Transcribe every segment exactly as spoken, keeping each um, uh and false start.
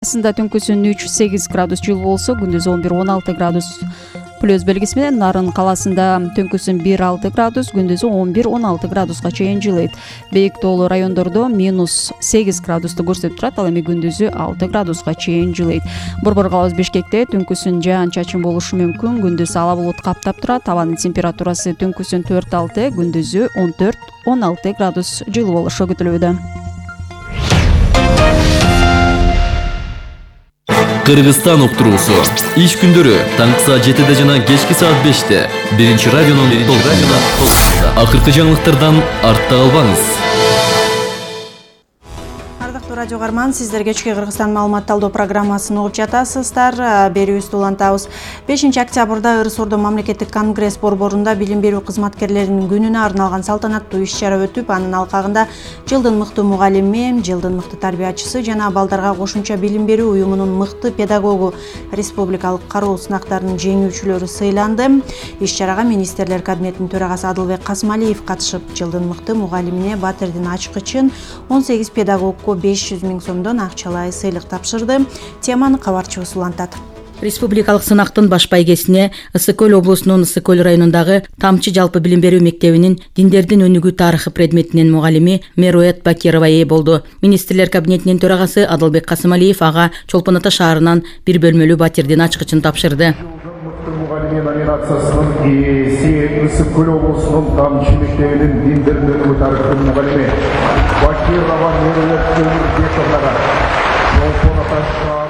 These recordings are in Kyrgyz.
Ысында түнкүсүн үч сегиз градус жылуу болсо, күндүз он бир он алты градус плюс белгиси менен Нарын калаасында түнкүсүн бир алты градус, күндүзү он бир он алты градуска чейин жылыйт. Бейик тоолуу райондордо минус сегиз градусту көрсөтүп турат, ал эми күндүзү алты градуска чейин жылыйт. Борбор калабыз Бишкекте түнкүсүн жаан-чачын болушу мүмкүн, күндүз ала булут каптап турат. Абанын температурасы түнкүсүн төрт алты, күндүзү он төрт он алты градус жылуу болушу күтүлүүдө. Кыргызстан уктуруусу иш күндөрү таңкы саат жетиде жана кечки саат беште биринчи радионун толкунунда. Акыркы жаңылыктардан артта калбаңыз. Ардактуу радио каарман, сиздер кечки Кыргызстан маалымат талдоо программасын угуп жатасыздар. Берүүбүздү улантабыз. бешинчи октябрда Ырыс Ордо мамлекеттик конгресс борборунда билим берүү кызматкерлеринин күнүнө арналган салтанаттуу иш-чара өтүп, анын алкагында жылдын мыкты мугалими, жылдын мыкты тарбиячысы жана балдарга кошумча билим берүү уюмунун мыкты педагогу, республикалык кароо сынактарынын жеңүүчүлөрү сыйланды. Иш-чарага министрлер кабинетинин төрагасы Адылбек Касымалиев катышып, жылдын мыкты мугалимине Батирдин ачкычын, он сегиз педагогко беш жүз миң сомдон акчалай сыйлык тапшырды. Теманы кабарчыбыз улантат. Республикалык сынактын баш байгесине Ысык Көл облусунун Ысык Көл районундагы Тамчы жалпы билим берүү мектебинин диндердин өнүгүү тарыхы предметинин мугалими Меруэт Бакирова ээ болду. Министрлер кабинетинин төрагасы Адылбек Касымалиев ага Чолпон Ата шаарынан бир бөлмөлүү Батирдин ачкычын тапшырды. Мугалими номинациясынын ээси Ысык Көл облусунун Тамчы мектебинин диндердин өнүгүү тарыхынын мугалими Бакирова Меруэт Бакировага Чолпон Ата шаарынан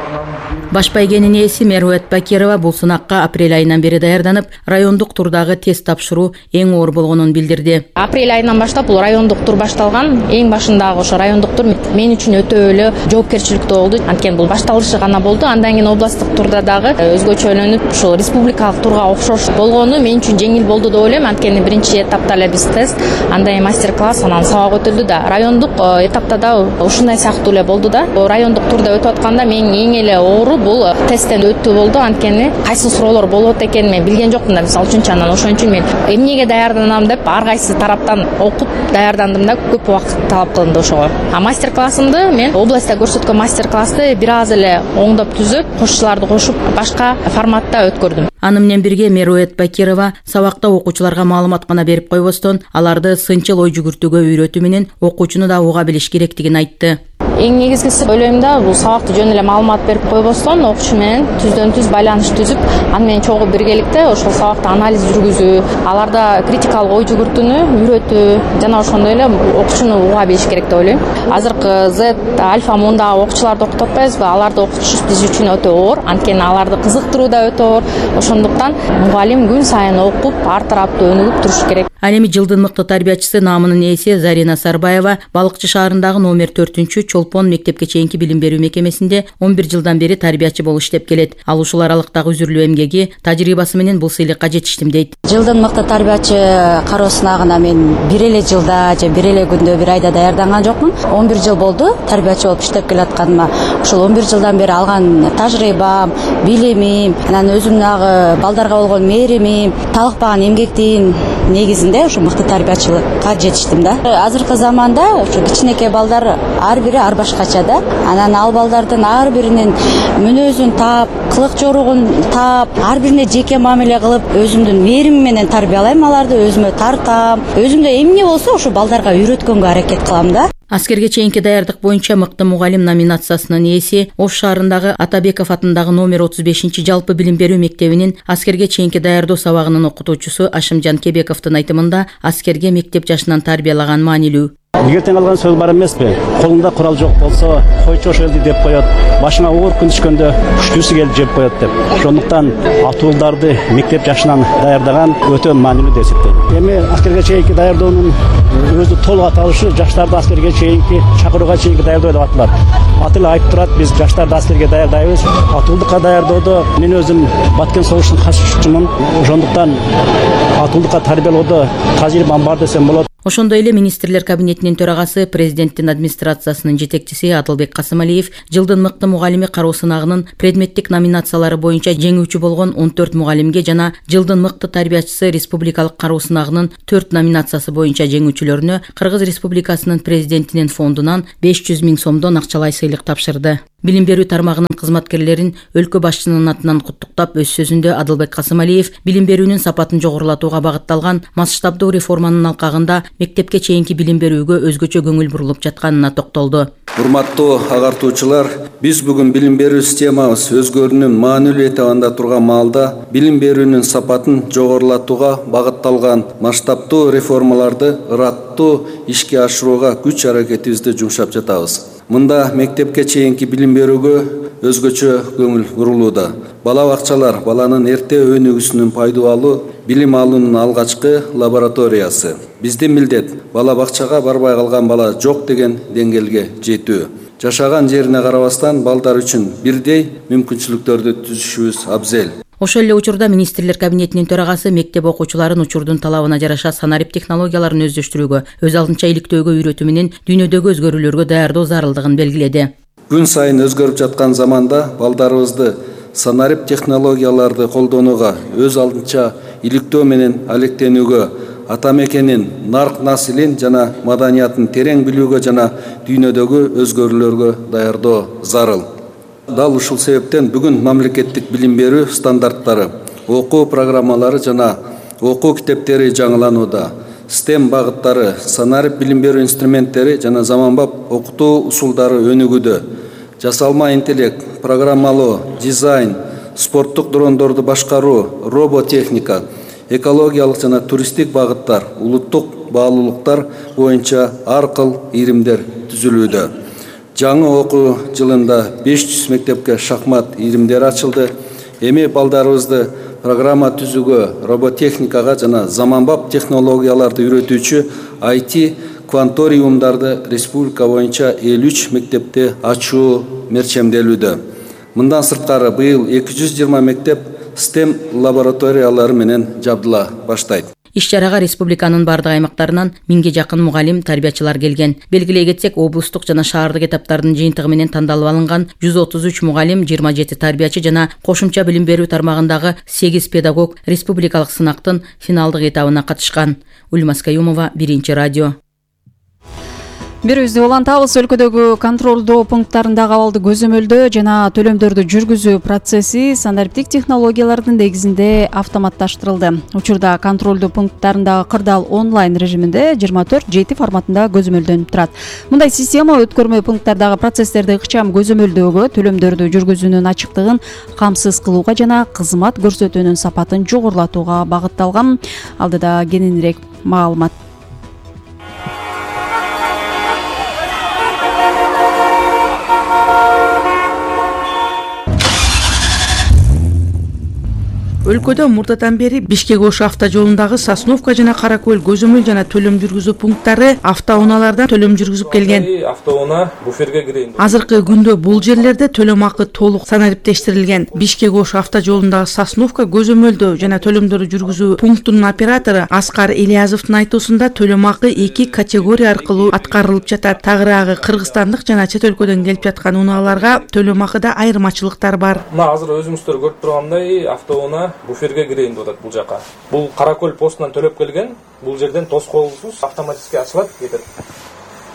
Баш байгенин ээси Меруэт Бакирова бул сынакка апрель айынан бери даярданып, райондук турдагы тест тапшыруу эң оор болгонун билдирди. Апрель айынан баштап бул райондук тур башталган. Эң башындагы ошо райондук тур мен үчүн өтө эле жоопкерчиликтүү болду. Анткени бул башталышы гана болду. Андан кийин областтык турда дагы өзгөчөлөнүп, ушул республикалык турга окшош болгону мен үчүн жеңил болду деп ойлойм. Анткени биринчи этапта эле биз тест, андан кийин мастер-класс, анан сабак өтүлдү да. Райондук этапта да ушундай сыяктуу эле болду да. Райондук турда өтүп атканда мен эң эле оору бул тесттен өтүү болду. Анткени кайсы суроолор болот экенин мен билген жокмун да. Мисалы үчүн анан ошон үчүн мен эмнеге даярданам деп ар кайсы тараптан окуп даярдандым да, көп убакыт талап кылынды ошого. А мастер-классымды мен областта көрсөткөн мастер-классты бир аз эле оңдоп түзүп, кошчуларды кошуп башка форматта өткөрдүм. Аны менен бирге Меруэт Бакирова сабакта окуучуларга маалымат гана берип койбостон, аларды сынчыл ой жүгүртүүгө үйрөтүү менен окуучуну да уга билиш керектигин айтты. Эң негизгиси ойлойм да, бул сабакты жөн эле маалымат берип койбостон, окуучу менен түздөн түз байланыш түзүп, аны менен чогуу биргеликте ошол сабакты анализ жүргүзүү, аларда критикалык ой жүгүртүүнү үйрөтүү жана ошондой эле окуучуну уга билиш керек деп ойлойм. Азыркы Z, Альфа мундагы окуучуларды окутуп атпайбызбы? Аларды окутуш биз үчүн өтө оор, анткени аларды кызыктыруу да өтө оор. Ошондуктан мугалим күн сайын окуп, ар тараптуу өнүгүп туруш керек. Ал эми жылдын мыкты тарбиячысы наамынын ээси Зарина Сарбаева Балыкчы шаарындагы номер төртүнчү Чолпон мектепке чейинки билим берүү мекемесинде он бир жылдан бери тарбиячы болуп иштеп келет. Ал ушул аралыктагы үзүрлүү эмгеги, тажрыйбасы менен бул сыйлыкка жетиштим дейт. Жылдын мыкты тарбиячы кароо сынагына мен бир эле жылда же бир эле күндө, бир айда даярданган жокмун. он бир жыл болду тарбиячы болуп иштеп келатканыма. Ушул он бир жылдан бери алган тажрыйбам, билимим, анан өзүмдөгү балдарга болгон мээримим, талыкпаган эмгектин негизинде ушу мыкты тарбиячылыкка жетиштим да. Азыркы заманда ушу кичинекей балдар ар бири ар башкача да. Анан ал балдардын ар биринин мүнөзүн таап, кылык жоругун таап, ар бирине жеке мамиле кылып, өзүмдүн мээримим менен тарбиялайм аларды, өзүмө тартам. Өзүмдө эмне болсо ушу балдарга үйрөткөнгө аракет кылам да. Аскерге чейинки даярдык боюнча мыкты мугалим номинациясынын ээси Ош шаарындагы Атабеков атындагы номер отуз бешинчи жалпы билим берүү мектебинин аскерге чейинки даярдоо сабагынын окутуучусу Ашымжан Кебековдун айтымында аскерге мектеп жашынан тарбиялаган маанилүү. Эгертең алган сөз бар эмеспи? Колунда курал жок болсо, койчу ошо элди деп коет. Башыңа оор күн түшкөндө күчтүүсү келип жеп коет деп. Ошондуктан атуулдарды мектеп жашынан даярдаган өтө маанилүү деп эсептейм. Эми аскерге чейинки даярдоонун өзү толук аталышы жаштарды аскерге чейинки чакырууга чейинки даярдоо деп аталат. Аты эле айтып турат, биз жаштарды аскерге даярдайбыз. Атуулдукка даярдоодо мен өзүм Баткен согуштун катышуучумун. Ошондуктан атуулдукка тарбиялоодо тажрыйбам бар десем болот. Ошондой эле министрлер кабинетинин төрагасы, президенттин администрациясынын жетекчиси Адылбек Касымалиев жылдын мыкты мугалими кароо сынагынын предметтик номинациялары боюнча жеңүүчү болгон он төрт мугалимге жана жылдын мыкты тарбиячысы республикалык кароо сынагынын төрт номинациясы боюнча жеңүүчүлөрүнө Кыргыз Республикасынын президентинин фондунан беш жүз миң сомдон акчалай сыйлык тапшырды. Билим берүү тармагынын кызматкерлерин өлкө башчысынын атынан куттуктап, өз сөзүндө Адылбек Касымалиев билим берүүнүн сапатын жогорулатууга багытталган масштабдуу реформанын алкагында мектепке чейинки билим берүүгө өзгөчө көңүл бурулуп жатканына токтолду. Урматтуу агартуучулар, биз бүгүн билим берүү системабыз өзгөрүүнүн маанилүү этабында турган маалда билим берүүнүн сапатын жогорулатууга багытталган масштабдуу реформаларды ыраттуу ишке ашырууга күч аракетибизди жумшап жатабыз. Мында мектепке чейинки билим берүүгө өзгөчө көңүл бурулууда. Бала бакчалар баланын эрте өнүгүүсүнүн пайда алуу, билим алуунун алгачкы лабораториясы. Биздин милдет бала бакчага барбай калган бала жок деген деңгээлге жетүү. Жашаган жерине карабастан балдар үчүн бирдей мүмкүнчүлүктөрдү түзүшүбүз абзел. Ошол эле учурда министрлер кабинетинин төрагасы мектеп окуучуларын учурдун талабына жараша санарип технологияларын өздөштүрүүгө, өз алдынча иликтөөгө үйрөтүү менен дүйнөдөгү өзгөрүүлөргө даярдоо зарылдыгын белгиледи. Күн сайын өзгөрүп жаткан заманда балдарыбызды санарип технологияларды колдонууга, өз алдынча иликтөө менен алектенүүгө, ата мекенин, нарк насилин жана маданиятын терең билүүгө жана дүйнөдөгү өзгөрүүлөргө даярдоо зарыл. Дал ушул себептен бүгүн мамлекеттик билим берүү стандарттары, окуу программалары жана окуу китептери жаңыланууда. стем багыттары, санарип билим берүү инструменттери жана заманбап окутуу усулдары өнүгүүдө. Жасалма интеллект, программалоо, дизайн, спорттук дрондорду башкаруу, роботехника, экологиялык жана туристтик багыттар, улуттук баалуулуктар боюнча ар кыл ийримдер түзүлүүдө. Жаңы окуу жылында беш жүз мектепке шахмат ийримдери ачылды. Эми балдарыбызды программа түзүүгө, роботехникага жана заманбап технологияларды үйрөтүүчү ай ти кванториумдарды республика боюнча элүү үч мектепте ачуу мерчемделүүдө. Мындан сырткары быйыл эки жүз жыйырма мектеп стем лабораториялары менен жабдыла баштайт. Иш-чарага республиканын бардык аймактарынан миңге жакын мугалим, тарбиячылар келген. Белгилей кетсек, облустук жана шаардык этаптардын жыйынтыгы менен тандалып алынган жүз отуз үч мугалим, жыйырма жети тарбиячы жана кошумча билим берүү тармагындагы сегиз педагог республикалык сынактын финалдык этабына катышкан. Ульмас Каюмова, Биринчи радио. Берүүбүздү улантабыз. Өлкөдөгү контролдоо пункттарындагы абалды көзөмөлдөө жана төлөмдөрдү жүргүзүү процесси санариптик технологиялардын негизинде автоматташтырылды. Учурда контролдоо пункттарындагы кырдаал онлайн режиминде жыйырма төрт жети форматында көзөмөлдөнүп турат. Мындай система өткөрмө пункттардагы процесстерди ыкчам көзөмөлдөөгө, төлөмдөрдү жүргүзүүнүн ачыктыгын камсыз кылууга жана кызмат көрсөтүүнүн сапатын жогорулатууга багытталган. Алдыда кененирээк маалымат. Өлкөдө мурдадан бери Бишкек-Ош автожолундагы Сосновка жана Кара Көл көзөмөл жана төлөм жүргүзүү пункттары автоунаалардан төлөм жүргүзүп келген. Автоунаа буферге кирейин. Азыркы күндө бул жерлерде төлөм акы толук санариптештирилген. Бишкек-Ош автожолундагы Сосновка көзөмөлдөө жана төлөмдөрдү жүргүзүү пунктунун оператору Аскар Ильязовдун айтуусунда төлөм акы эки категория аркылуу аткарылып жатат. Тагыраагы кыргызстандык жана чет өлкөдөн келип жаткан унааларга төлөм акыда айырмачылыктар бар. Мына азыр өзүңүздөр көрүп тургандай автоунаа буферге кирейин деп атат бул жака. Бул Кара Көл постунан төлөп келген. Бул жерден тоскоолсуз автоматически ачылат, кетет.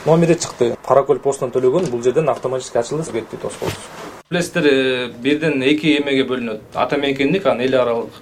Номери чыкты. Кара Көл постунан төлөгөн, бул жерден автоматически ачылды, кетти тоскоолсуз. Билесиздер, бирден эки эмеге бөлүнөт. Ата мекендик, анан эл аралык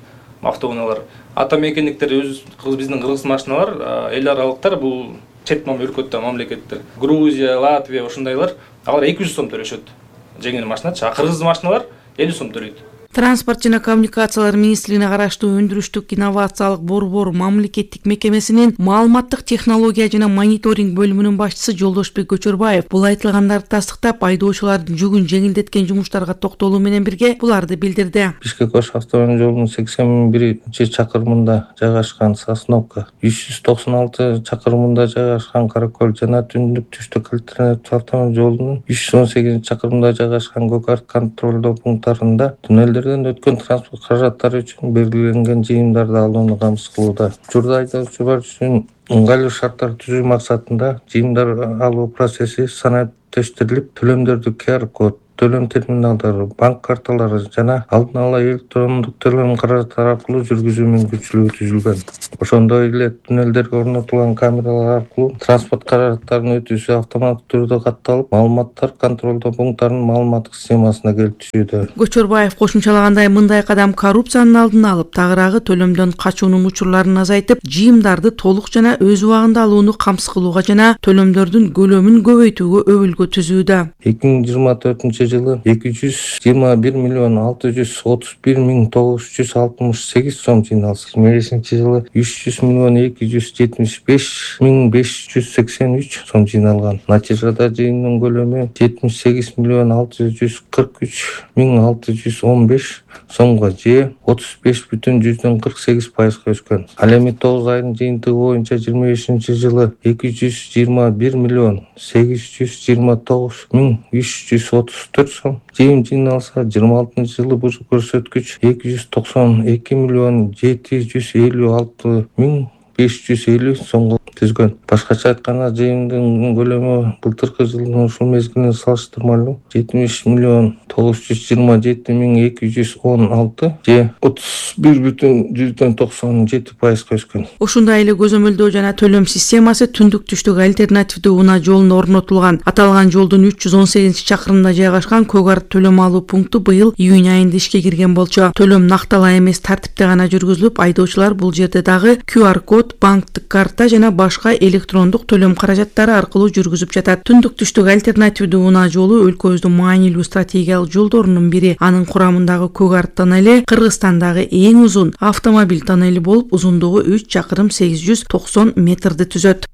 автоунаалар. Ата мекендиктер өз биздин кыргыз машиналар, эл аралыктар бул чет өлкөттө мамлекеттер. Грузия, Латвия ошондайлар, алар эки жүз сом төлөшөт. Жеңил машиначы, а кыргыз машиналар элүү сом төлөйт. Транспорт жана коммуникациялар министрлигине караштуу өндүрүштүк инновациялык борбор мамлекеттик мекемесинин маалыматтык технология жана мониторинг бөлүмүнүн башчысы Жолдошбек Көчөрбаев бул айтылгандарды тастыктап, айдоочулардын жүгүн жеңилдеткен жумуштарга токтолуу менен бирге буларды билдирди. Бишкек-Ош автомобиль жолунун сексен биринчи чакырымында жайгашкан Сосновка, үч жүз токсон алты чакырымында жайгашкан Кара Көл жана түндүк түштүк альтернатив автомобиль жолунун үч жүз он сегизинчи чакырымында жайгашкан Гокарт контролдоо пункттарында туннелдер өткөн транспорт каражаттары үчүн белгиленген жыйымдарды алууну камсыз кылууда. Учурда айдоочулар үчүн ыңгайлуу шарттар түзүү максатында жыйымдар алуу процесси санариптештирилип, төлөмдөрдү Q R код төлөм терминалдары, банк карталары жана алдын ала электрондук төлөм каражаттары аркылуу жүргүзүү мүмкүнчүлүгү түзүлгөн. Ошондой эле туннелдерге орнотулган камералар аркылуу транспорт каражаттарынын өтүүсү автоматтык түрдө катталып, маалыматтар контролдоо пункттарынын маалыматтык системасына келип түшүүдө. Көчөрбаев кошумчалагандай, мындай кадам коррупциянын алдын алып, тагыраагы төлөмдөн качуунун учурларын азайтып, жыйымдарды толук жана өз убагында алууну камсыз кылууга жана төлөмдөрдүн көлөмүн көбөйтүүгө өбүлгө түзүүдө. эки миң жыйырма төртүнчү жылы эки жүз жыйырма бир миллион алты жүз отуз бир миң тогуз жүз алтымыш сегиз сом жыйналса, эки миң бешинчи жылы үч жүз миллион эки жүз жетимиш беш миң беш жүз сексен үч сом жыйналган. Натыйжада жыйындын көлөмү жетимиш сегиз миллион алты жүз кырк үч миң алты жүз он беш сомго же отуз беш бүтүн жүздөн кырк сегиз пайызга өскөн. Ал эми тогуз айдын жыйынтыгы боюнча жыйырма бешинчи жылы эки жүз жыйырма бир миллион сегиз жүз жыйырма тогуз миң үч жүз отуз төрт сом жыйым жыйналса, жыйырма алтынчы жылы бул көрсөткүч эки жүз токсон эки миллион жети жүз элүү алты миң беш жүз элүү сомго түзгөн. Башкача айтканда, жыйымдын көлөмү былтыркы жылдын ушул мезгилине салыштырмалуу жетимиш миллион тогуз жүз жыйырма жети миң эки жүз он алты же отуз бир бүтүн жүздөн токсон жети пайызга өскөн. Ушундай эле көзөмөлдөө жана төлөм системасы түндүк түштүк альтернативдүү унаа жолуна орнотулган. Аталган жолдун үч жүз он сегизинчи чакырымында жайгашкан Көк Арт төлөм алуу пункту быйыл июнь айында ишке кирген болчу. Төлөм накталаа эмес тартипте гана жүргүзүлүп, айдоочулар бул жерде дагы ку ар код, банктык карта жана башка электрондук төлөм каражаттары аркылуу жүргүзүп жатат. Түндүк түштүк альтернативдүү унаа жолу өлкөбүздүн маанилүү стратегиялык жолдорунун бири. Анын курамындагы Көк Арт тоннели Кыргызстандагы эң узун автомобиль тоннели болуп, узундугу үч чакырым сегиз жүз токсон метрди түзөт.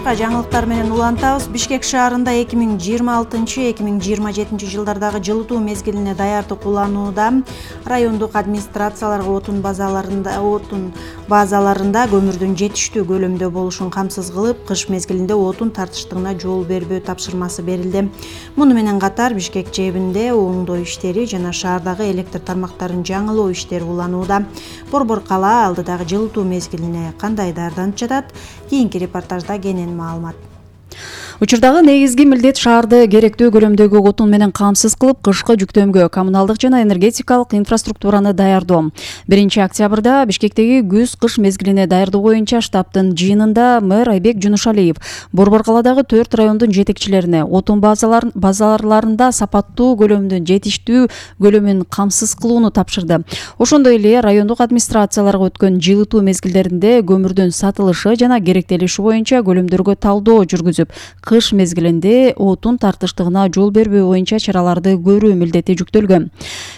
Жаңылыктар менен улантабыз. Бишкек шаарында эки миң жыйырма алтынчы эки миң жыйырма жетинчи жылдардагы жылытуу мезгилине даярдык уланууда. Райондук администрацияларга отун базаларында отун базаларында көмүрдүн жетиштүү көлөмдө болушун камсыз кылып, кыш мезгилинде отун тартыштыгына жол бербөө тапшырмасы берилди. Муну менен катар Бишкек жэбинде оңдоо иштери жана шаардагы электр тармактарын жаңылоо иштери уланууда. Борбор кала алдыдагы жылытуу мезгилине кандай даярданып жатат? Кийинки репортажда кенен маалымат. Учурдагы негизги милдет шаарды керектүү көлөмдөгү отун менен камсыз кылып, кышкы жүктөмгө коммуналдык жана энергетикалык инфраструктураны даярдоо. биринчи октябрда Бишкектеги күз-кыш мезгилине даярдоо боюнча штабтын жыйынында мэр Айбек Жунушалиев Борбор каладагы төрт райондун жетекчилерине отун базаларын базаларында сапаттуу көлөмдүн жетиштүү көлөмүн камсыз кылууну тапшырды. Ошондой эле райондук администрацияларга өткөн жылытуу мезгилдеринде көмүрдүн сатылышы жана керектелиши боюнча көлөмдөргө талдоо жүргүзүп, кыш мезгилинде отун тартыштыгына жол бербөө боюнча чараларды көрүү милдети жүктөлгөн.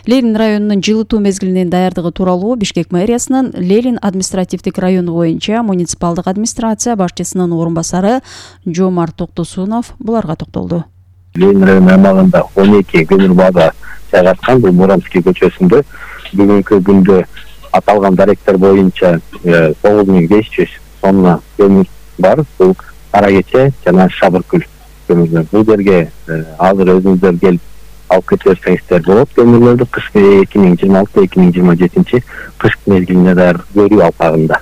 Ленин районунун жылытуу мезгилинин даярдыгы тууралуу Бишкек мэриясынын Ленин административдик району боюнча муниципалдык администрация башчысынын орун басары Жомарт Токтосунов буларга токтолду. Ленин району аймагында он эки көмүр база жайгашкан. Бул Муромский көчөсүндө бүгүнкү күндө аталган даректер боюнча тогуз миң беш жүз тонна көмүр бар. Бул Кара Кече жана Шабыркүл көмүрлөр. Бул жерге азыр өзүңүздөр келип алып кете берсеңиздер болот. Көмүрлөрдү кыш эки миң жыйырма алты эки миң жыйырма жетинчи кыш мезгилине даяр көрүү алкагында.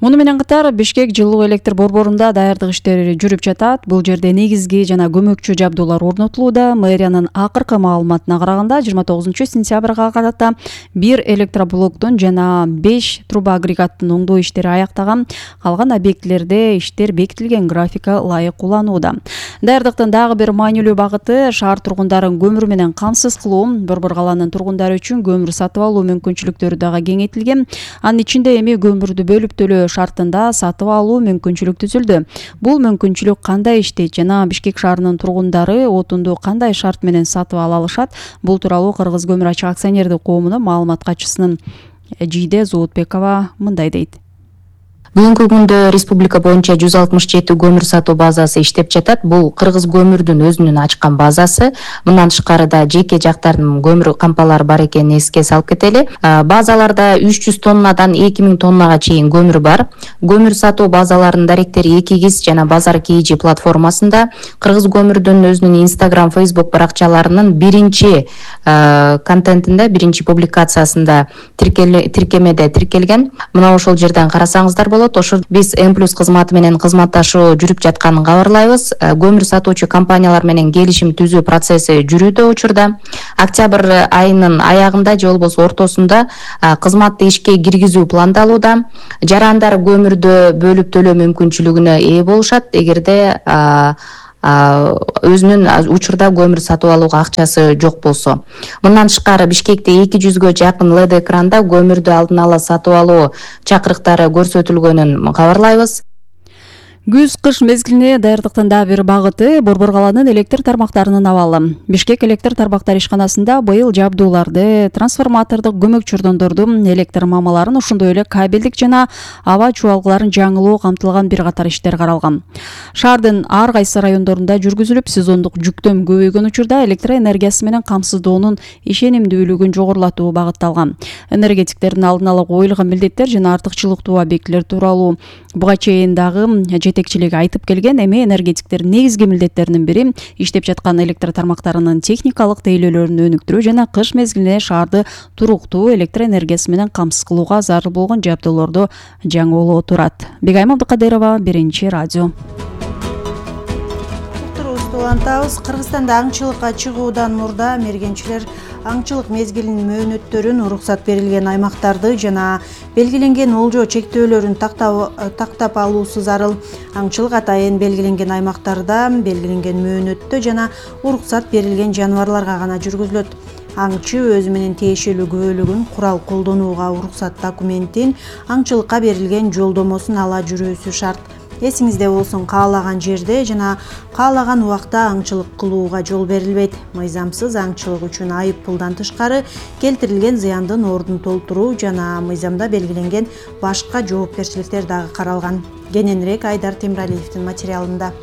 Муну менен катар Бишкек жылуу электр борборунда даярдык иштери жүрүп жатат. Бул жерде негизги жана көмөкчү жабдуулар орнотулууда. Мэриянын акыркы маалыматына караганда жыйырма тогузунчу сентябрга карата бир электроблоктун жана беш труба агрегаттын оңдоо иштери аяктаган. Калган объектилерде иштер бекитилген графика ылайык уланууда. Даярдыктын дагы бир маанилүү багыты шаар тургундарын көмүр менен камсыз кылуу. Борбор каланын тургундары үчүн көмүр сатып алуу мүмкүнчүлүктөрү дагы кеңейтилген. Анын ичинде эми көмүрдү бөлүп төлөө шартында сатып алуу мүмкүнчүлүк түзүлдү. Бул мүмкүнчүлүк кандай иштейт жана Бишкек шаарынын тургундары отунду кандай шарт менен сатып ала алышат? Бул тууралуу Кыргыз көмүр ачык акционердик коомунун маалымат катчысынын Жийде Зоотбекова мындай дейт. Бүгүнкү күндө республика боюнча жүз алтымыш жети көмүр сатуу базасы иштеп жатат. Бул Кыргыз көмүрдүн өзүнүн ачкан базасы. Мындан тышкары да жеке жактардын көмүр кампалары бар экенин эске салып кетели. Базаларда үч жүз тоннадан эки миң тоннага чейин көмүр бар. Көмүр сатуу базаларынын даректери Экигиз жана Базар Кийжи платформасында, Кыргыз көмүрдүн өзүнүн Instagram, Facebook баракчаларынын биринчи контентинде, биринчи публикациясында тиркемеде тиркелген. Мына ошол жерден карасаңыздар болот. болот. Ошо биз М плюс кызматы менен кызматташуу жүрүп жатканын кабарлайбыз. Көмүр сатуучу компаниялар менен келишим түзүү процесси жүрүүдө учурда. Октябрь айынын аягында же болбосо ортосунда кызматты ишке киргизүү пландалууда. Жарандар көмүрдү бөлүп төлөө мүмкүнчүлүгүнө ээ болушат эгерде өзүнүн учурда көмүр сатып алууга акчасы жок болсо. Мындан тышкары Бишкекте эки жүзгө жакын эл и ди экранда көмүрдү алдын ала сатып алуу чакырыктары көрсөтүлгөнүн кабарлайбыз. Күз-кыш мезгилине даярдыктын дагы бир багыты Борбор каланын электр тармактарынын абалы. Бишкек электр тармактар ишканасында быйыл жабдууларды, трансформатордук көмөк чурдондорду, электр мамаларын, ошондой эле кабелдик жана аба чубалгыларын жаңылоо камтылган бир катар иштер каралган. Шаардын ар кайсы райондорунда жүргүзүлүп, сезондук жүктөм көбөйгөн учурда электр энергиясы менен камсыздоонун ишенимдүүлүгүн жогорулатуу багытталган. Энергетиктердин алдын ала коюлган милдеттер жана артыкчылыктуу объектилер тууралуу буга чейин дагы жетекчилиги айтып келген. Эми энергетиктердин негизги милдеттеринин бири иштеп жаткан электр тармактарынын техникалык тейлөөлөрүн өнүктүрүү жана кыш мезгилине шаарды туруктуу электр энергиясы менен камсыз кылууга зарыл болгон жабдууларды жаңылоо турат. Бегайым Абдыкадырова, Биринчи радио. Улантабыз. Кыргызстанда аңчылыкка чыгуудан мурда мергенчилер аңчылык мезгилинин мөөнөттөрүн, уруксат берилген аймактарды жана белгиленген олжо чектөөлөрүн тактап алуусу зарыл. Аңчылык атайын белгиленген аймактарда белгиленген мөөнөттө жана уруксат берилген жаныбарларга гана жүргүзүлөт. Аңчы өзү менен тиешелүү күбөлүгүн, курал колдонууга уруксат документин, аңчылыкка берилген жолдомосун ала жүрүүсү шарт. Эсиңизде болсун, каалаган жерде жана каалаган убакта аңчылык кылууга жол берилбейт. Мыйзамсыз аңчылык үчүн айып пулдан тышкары келтирилген зыяндын ордун толтуруу жана мыйзамда белгиленген башка жоопкерчиликтер дагы каралган. Кененирээк Айдар Темиралиевдин материалында.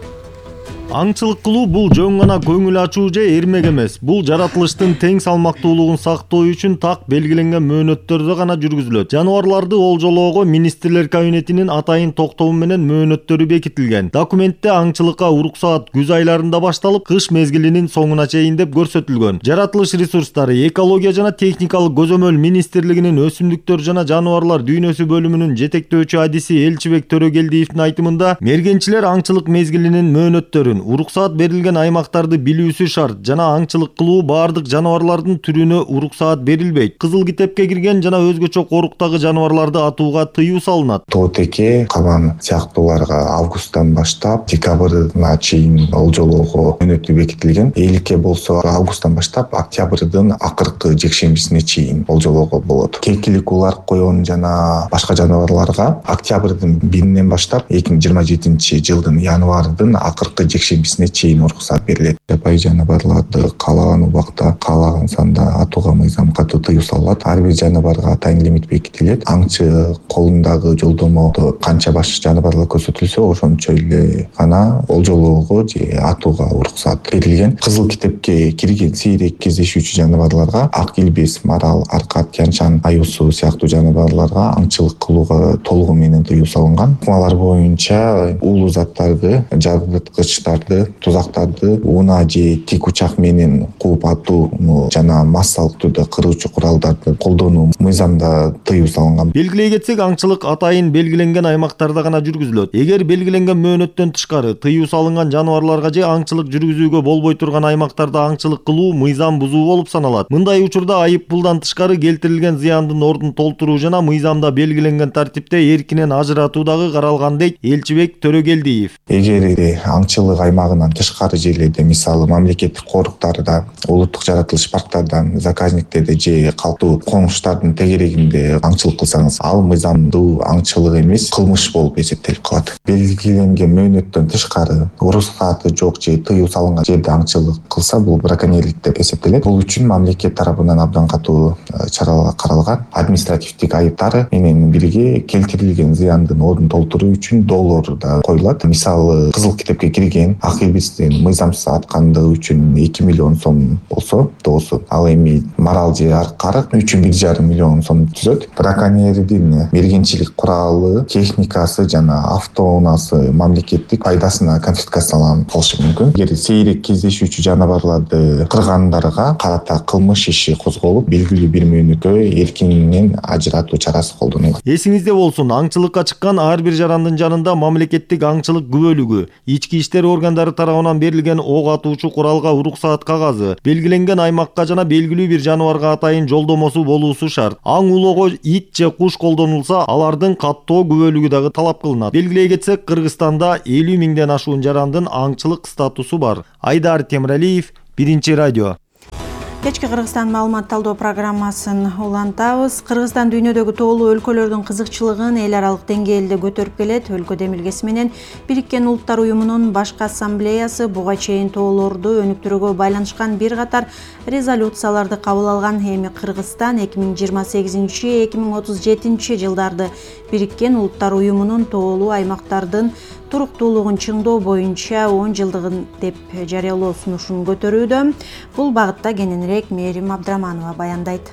Аңчылык кылуу бул жөн гана көңүл ачуу же эрмек эмес. Бул жаратылыштын тең салмактуулугун сактоо үчүн так белгиленген мөөнөттөрдө гана жүргүзүлөт. Жаныбарларды олжолоого министрлер кабинетинин атайын токтому менен мөөнөттөрү бекитилген. Документте аңчылыкка уруксаат күз айларында башталып, кыш мезгилинин соңуна чейин деп көрсөтүлгөн. Жаратылыш ресурстары, экология жана техникалык көзөмөл министрлигинин өсүмдүктөр жана жаныбарлар дүйнөсү бөлүмүнүн жетектөөчү адиси Элчибек Төрөгелдиевдин айтымында, мергенчилер аңчылык мезгилинин мөөнөттөрүн, уруксаат берилген аймактарды билүүсү шарт жана аңчылык кылуу баардык жаныбарлардын түрүнө уруксаат берилбейт. Кызыл китепке кирген жана өзгөчө коруктагы жаныбарларды атууга тыюу салынат. Тоотеке, кабан сыяктууларга августтан баштап декабрына чейин олжолоого мөөнөтү бекитилген. Эликке болсо августтан баштап октябрдын акыркы жекшембисине чейин олжолоого болот. Кекилик улар, коён жана башка жаныбарларга октябрдын биринен баштап эки миң жыйырма жетинчи жылдын январдын акыркы жекшембисине чейин уруксаат берилет. Жапайы жаныбарларды каалаган убакта, каалаган санда атууга мыйзам катуу тыюу салынат. Ар бир жаныбарга атайын лимит бекитилет. Аңчы колундагы жолдомодо канча баш жаныбарлар көрсөтүлсө, ошончо эле гана олжолоого же атууга уруксаат берилген. Кызыл китепке кирген сейрек кездешүүчү жаныбарларга, ак илбес, марал, аркат, тянчан, аюусу сыяктуу жаныбарларга аңчылык кылууга толугу менен тыюу салынган. Ыкмалар боюнча уулуу заттарды, жарыткычтарды, тузактарды унаа же тик учак менен кууп атууну жана массалык түрдө кыруучу куралдарды колдонуу мыйзамда тыюу салынган. Белгилей кетсек, аңчылык атайын белгиленген аймактарда гана жүргүзүлөт. Эгер белгиленген мөөнөттөн тышкары тыюу салынган жаныбарларга же аңчылык жүргүзүүгө болбой турган аймактарда аңчылык кылуу мыйзам бузуу болуп саналат. Мындай учурда айып пулдан тышкары келтирилген зыяндын ордун толтуруу жана мыйзамда белгиленген тартипте эркинен ажыратуу дагы каралган дейт Элчибек Төрөгелдиев. Эгер аңчылык аймагынан тышкары жерлерде, мисалы мамлекеттик коруктарда, улуттук жаратылыш парктардан, заказниктерде же калктуу коңуштардын тегерегинде аңчылык кылсаңыз, ал мыйзамдуу аңчылык эмес, кылмыш болуп эсептелип калат. Белгиленген мөөнөттөн тышкары уруксааты жок же тыюу салынган жерде аңчылык кылса, бул браконьерлик деп эсептелет. Бул үчүн мамлекет тарабынан абдан катуу чаралар каралган. Административдик айыптары менен бирге келтирилген зыяндын ордун толтуруу үчүн доллар да коюлат. Мисалы кызыл китепке кирген акыбыздын мыйзамсыз аткандыгы үчүн эки миллион сом болсо доосу, ал эми марал же карык үчүн бир жарым миллион сом түзөт. Браконьердин мергенчилик куралы, техникасы жана автоунаасы мамлекеттик пайдасына конфискацияланып калышы мүмкүн. Эгер сейрек кездешүүчү жаныбарларды кыргандарга карата кылмыш иши козголуп, белгилүү бир мөөнөткө эркинен ажыратуу чарасы колдонулат. Эсиңизде болсун, аңчылыкка чыккан ар бир жарандын жанында мамлекеттик аңчылык күбөлүгү, ички иштер органдары тарабынан берилген ок атуучу куралга уруксаат кагазы, белгиленген аймакка жана белгилүү бир жаныбарга атайын жолдомосу болуусу шарт. Аң улоого ит же куш колдонулса, алардын каттоо күбөлүгү дагы талап кылынат. Белгилей кетсек, Кыргызстанда элүү миңден ашуун жарандын аңчылык статусу бар. Айдар Темиралиев, Биринчи радио. Кечки Кыргызстан маалымат талдоо программасын улантабыз. Кыргызстан дүйнөдөгү тоолуу өлкөлөрдүн кызыкчылыгын эл аралык деңгээлде көтөрүп келет. Өлкө демилгеси менен Бириккен Улуттар уюмунун башкы ассамблеясы буга чейин тоолорду өнүктүрүүгө байланышкан бир катар резолюцияларды кабыл алган. Эми Кыргызстан эки миң жыйырма сегизинчи — эки миң отуз жетинчи жылдарды Бириккен Улуттар уюмунун тоолуу аймактардын туруктуулугун чыңдоо боюнча он жылдыгын деп жарыялоо сунушун көтөрүүдө. Бул багытта кененирээк Мээрим Абдыраманова баяндайт.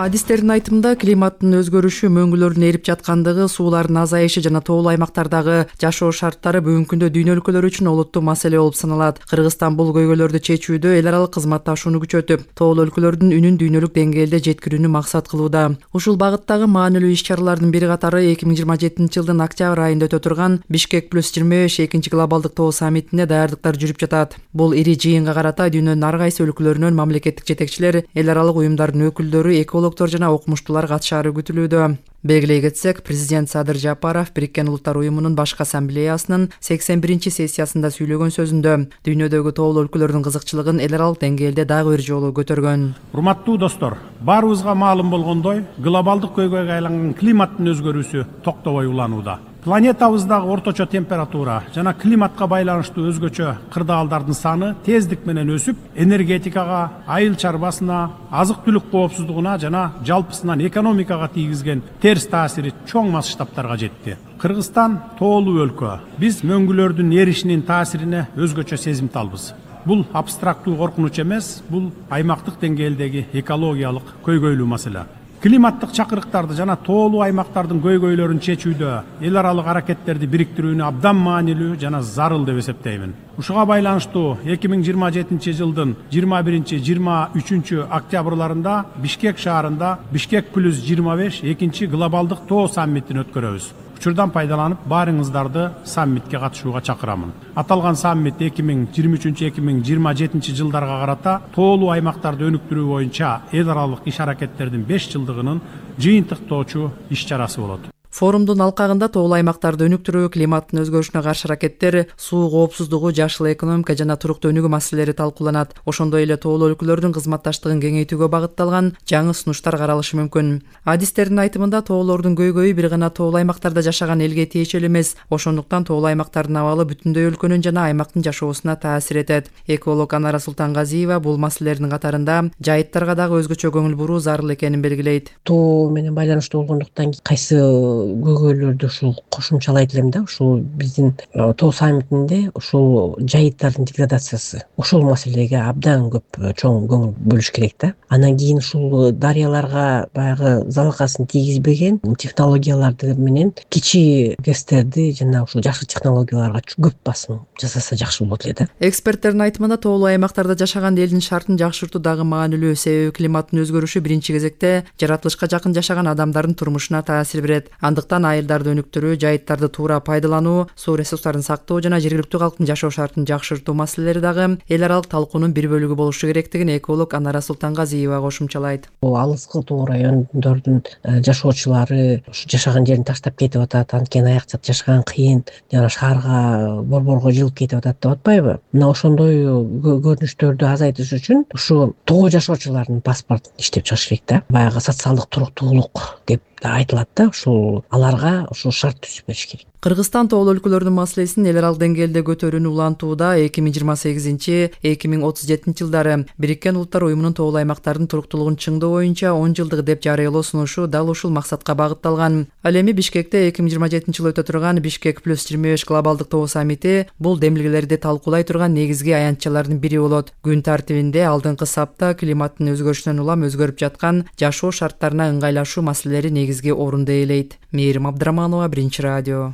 Адистердин айтымында климаттын өзгөрүшү, мөңгүлөрдүн эрип жаткандыгы, суулардын азайышы жана тоолуу аймактардагы жашоо шарттары бүгүнкү күндө дүйнө өлкөлөрү үчүн олуттуу маселе болуп саналат. Кыргызстан бул көйгөйлөрдү чечүүдө эл аралык кызматташууну күчөтүп, тоолуу өлкөлөрдүн үнүн дүйнөлүк деңгээлде жеткирүүнү максат кылууда. Ушул багыттагы маанилүү иш-чаралардын бир катары эки миң жыйырма жетинчи жылдын октябрь айында өтө турган Бишкек плюс жыйырма беш экинчи глобалдык тоо саммитине даярдыктар жүрүп жатат. Бул ири жыйынга карата дүйнөнүн ар кайсы өлкөлөрүнөн мамлекеттик жетекчилер, эл аралык уюмдардын өкүлдөрү, экологдор жана окумуштуулар катышаары күтүлүүдө. Белгилей кетсек, президент Садыр Жапаров Бириккен Улуттар уюмунун башкы ассамблеясынын сексен биринчи сессиясында сүйлөгөн сөзүндө дүйнөдөгү тоолуу өлкөлөрдүн кызыкчылыгын эл аралык деңгээлде дагы бир жолу көтөргөн. Урматтуу достор, баарыбызга маалым болгондой, глобалдык көйгөйгө айланган климаттын өзгөрүүсү токтобой уланууда. Планетабыздагы орточо температура жана климатка байланыштуу өзгөчө кырдаалдардын саны тездик менен өсүп, энергетикага, айыл чарбасына, азык-түлүк коопсуздугуна жана жалпысынан экономикага тийгизген терс таасири чоң масштабтарга жетти. Кыргызстан тоолуу өлкө. Биз мөңгүлөрдүн эришинин таасирине өзгөчө сезимталбыз. Бул абстрактуу коркунуч эмес, бул аймактык деңгээлдеги экологиялык көйгөйлүү маселе. Климаттык чакырыктарды жана тоолуу аймактардын көйгөйлөрүн чечүүдө эл аралык аракеттерди бириктирүүнү абдан маанилүү жана зарыл деп эсептеймин. Ушуга байланыштуу эки миң жыйырма жетинчи жылдын жыйырма биринчи — жыйырма үчүнчү октябрларында Бишкек шаарында Бишкек плюс жыйырма беш экинчи глобалдык тоо саммитин өткөрөбүз. Учурдан пайдаланып, баарыңыздарды саммитке катышууга чакырамын. Аталган саммит эки миң жыйырма үчүнчү — эки миң жыйырма жетинчи жылдарга карата тоолуу аймактарды өнүктүрүү боюнча эл аралык иш аракеттердин беш жылдыгынын жыйынтыктоочу иш-чарасы болот. Форумдун алкагында тоолуу аймактарды өнүктүрүү, климаттын өзгөрүшүнө каршы аракеттер, суу коопсуздугу, жашыл экономика жана туруктуу өнүгүү маселелери талкууланат. Ошондой эле тоолуу өлкөлөрдүн кызматташтыгын кеңейтүүгө багытталган жаңы сунуштар каралышы мүмкүн. Адистердин айтымында тоолордун көйгөйү бир гана тоолуу аймактарда жашаган элге тиешелүү эмес, ошондуктан тоолуу аймактардын абалы бүтүндөй өлкөнүн жана аймактын жашоосуна таасир этет. Эколог Анара Султангазиева бул маселелердин катарында жайыттарга дагы өзгөчө көңүл буруу зарыл экенин белгилейт. Тоо менен байланыштуу болгондуктан кайсы көйгөйлөрдү ушул кошумчалайт элем да, ушул биздин тоо саммитинде ушул жайыттардын деградациясы, ушул маселеге абдан көп чоң көңүл бөлүш керек да. Анан кийин ушул дарыяларга баягы залалкасын тийгизбеген технологияларды менен кичи гэстерди жана ушул жакшы технологияларга көп басым жасаса жакшы болот эле да. Эксперттердин айтымында тоолуу аймактарда жашаган элдин шартын жакшыртуу дагы маанилүү, себеби климаттын өзгөрүшү биринчи кезекте жаратылышка жакын жашаган адамдардын турмушуна таасир берет. Андыктан айылдарды өнүктүрүү, жайыттарды туура пайдалануу, суу ресурстарын сактоо жана жергиликтүү калктын жашоо шартын жакшыртуу маселелери дагы эл аралык талкуунун бир бөлүгү болушу керектигин эколог Анара Султангазиева кошумчалайт. Алыскы тоо райондордун жашоочулары ушу жашаган жерин таштап кетип атат, анткени аяк жат жашаган кыйын, жана шаарга борборго жылып кетип атат деп атпайбы? Мына ошондой көрүнүштөрдү азайтыш үчүн ушу тоо жашоочулардын паспортун иштеп чыгыш керек да. Баягы социалдык туруктуулук деп айтылат да, ушул аларга ушул шарт түзүп бериш керек. Кыргызстан тоолуу өлкөлөрдүн маселесин эл аралык деңгээлде көтөрүүнү улантууда эки миң жыйырма сегизинчи эки миң отуз жетинчи жылдары Бириккен Улуттар уюмунун тоолуу аймактардын туруктуулугун чыңдоо боюнча он жылдык деп жарыялоо сунушу дал ушул максатка багытталган. Ал эми Бишкекте эки миң жыйырма жетинчи жылы өтө турган Бишкек плюс жыйырма беш глобалдык тоо саммити бул демилгелерди талкуулай турган негизги аянтчалардын бири болот. Күн тартибинде алдыңкы сапта климаттын өзгөрүшүнөн улам өзгөрүп жаткан жашоо шарттарына ыңгайлашуу маселелери негизги орунду ээлейт. Мээрим Абдыраманова, Биринчи радио.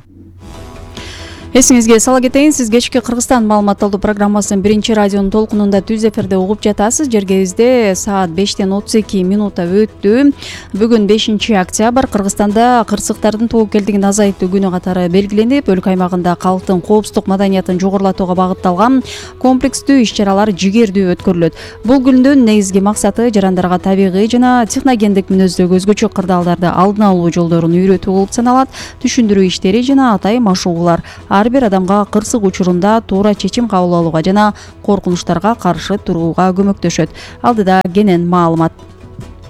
Эсиңизге сала кетейин, сиз кечки Кыргызстан маалымат алуу программасын Биринчи радионун толкунунда түз эфирде угуп жатасыз. Жергебизде саат бештен отуз эки минута өттү. Бүгүн бешинчи октябрь. Кыргызстанда кырсыктардын тобокелдигин азайтуу күнү катары белгиленип, өлкө аймагында калктын коопсуздук маданиятын жогорулатууга багытталган комплекстүү иш-чаралар жигердүү өткөрүлөт. Бул күндүн негизги максаты жарандарга табигый жана техногендик мүнөздөгү өзгөчө кырдаалдарды алдын алуу жолдорун үйрөтүү болуп саналат. Түшүндүрүү иштери жана атайын машыгуулар ар бир адамга кырсык учурунда туура чечим кабыл алууга жана коркунучтарга каршы турууга көмөктөшөт. Алдыда кенен маалымат.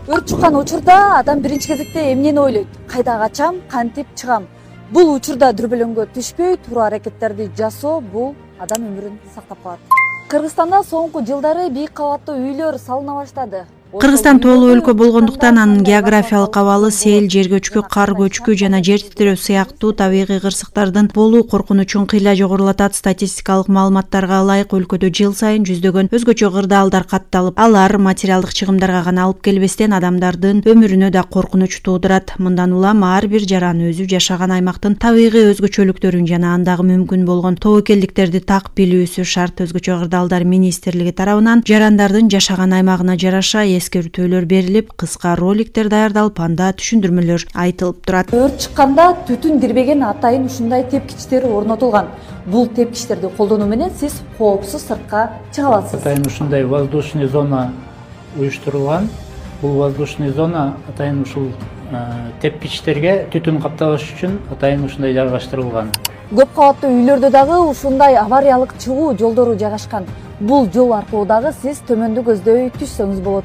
Өрт чыккан учурда адам биринчи кезекте эмнени ойлойт? Кайда качам, кантип чыгам? Бул учурда дүрбөлөңгө түшпөй, туура аракеттерди жасоо бул адам өмүрүн сактап калат. Кыргызстанда соңку жылдары бийик кабаттуу үйлөр салына баштады. Кыргызстан тоолуу өлкө болгондуктан анын географиялык абалы сел, жер көчкү, кар көчкү жана жер титирөө сыяктуу табигый кырсыктардын болуу коркунучун кыйла жогорулатат. Статистикалык маалыматтарга ылайык өлкөдө жыл сайын жүздөгөн өзгөчө кырдаалдар катталып, алар материалдык чыгымдарга гана алып келбестен адамдардын өмүрүнө да коркунуч туудурат. Мындан улам ар бир жаран өзү жашаган аймактын табигый өзгөчөлүктөрүн жана андагы мүмкүн болгон тобокелдиктерди так билүүсү шарт. Өзгөчө кырдаалдар министрлиги тарабынан жарандардын жашаган аймагына жараша эскертүүлөр берилип, кыска роликтер даярдалып, анда түшүндүрмөлөр айтылып турат. Өрт чыкканда түтүн кирбеген атайын ушундай тепкичтер орнотулган. Бул тепкичтерди колдонуу менен сиз коопсуз сыртка чыга аласыз. Атайын ушундай воздушный зона уюштурулган. Бул воздушный зона атайын ушул тепкичтерге түтүн каптабаш үчүн атайын ушундай жайгаштырылган. Көп кабаттуу үйлөрдө дагы ушундай авариялык чыгуу жолдору жайгашкан. Бул жол аркылуу дагы сиз төмөндү көздөй түшсөңүз болот.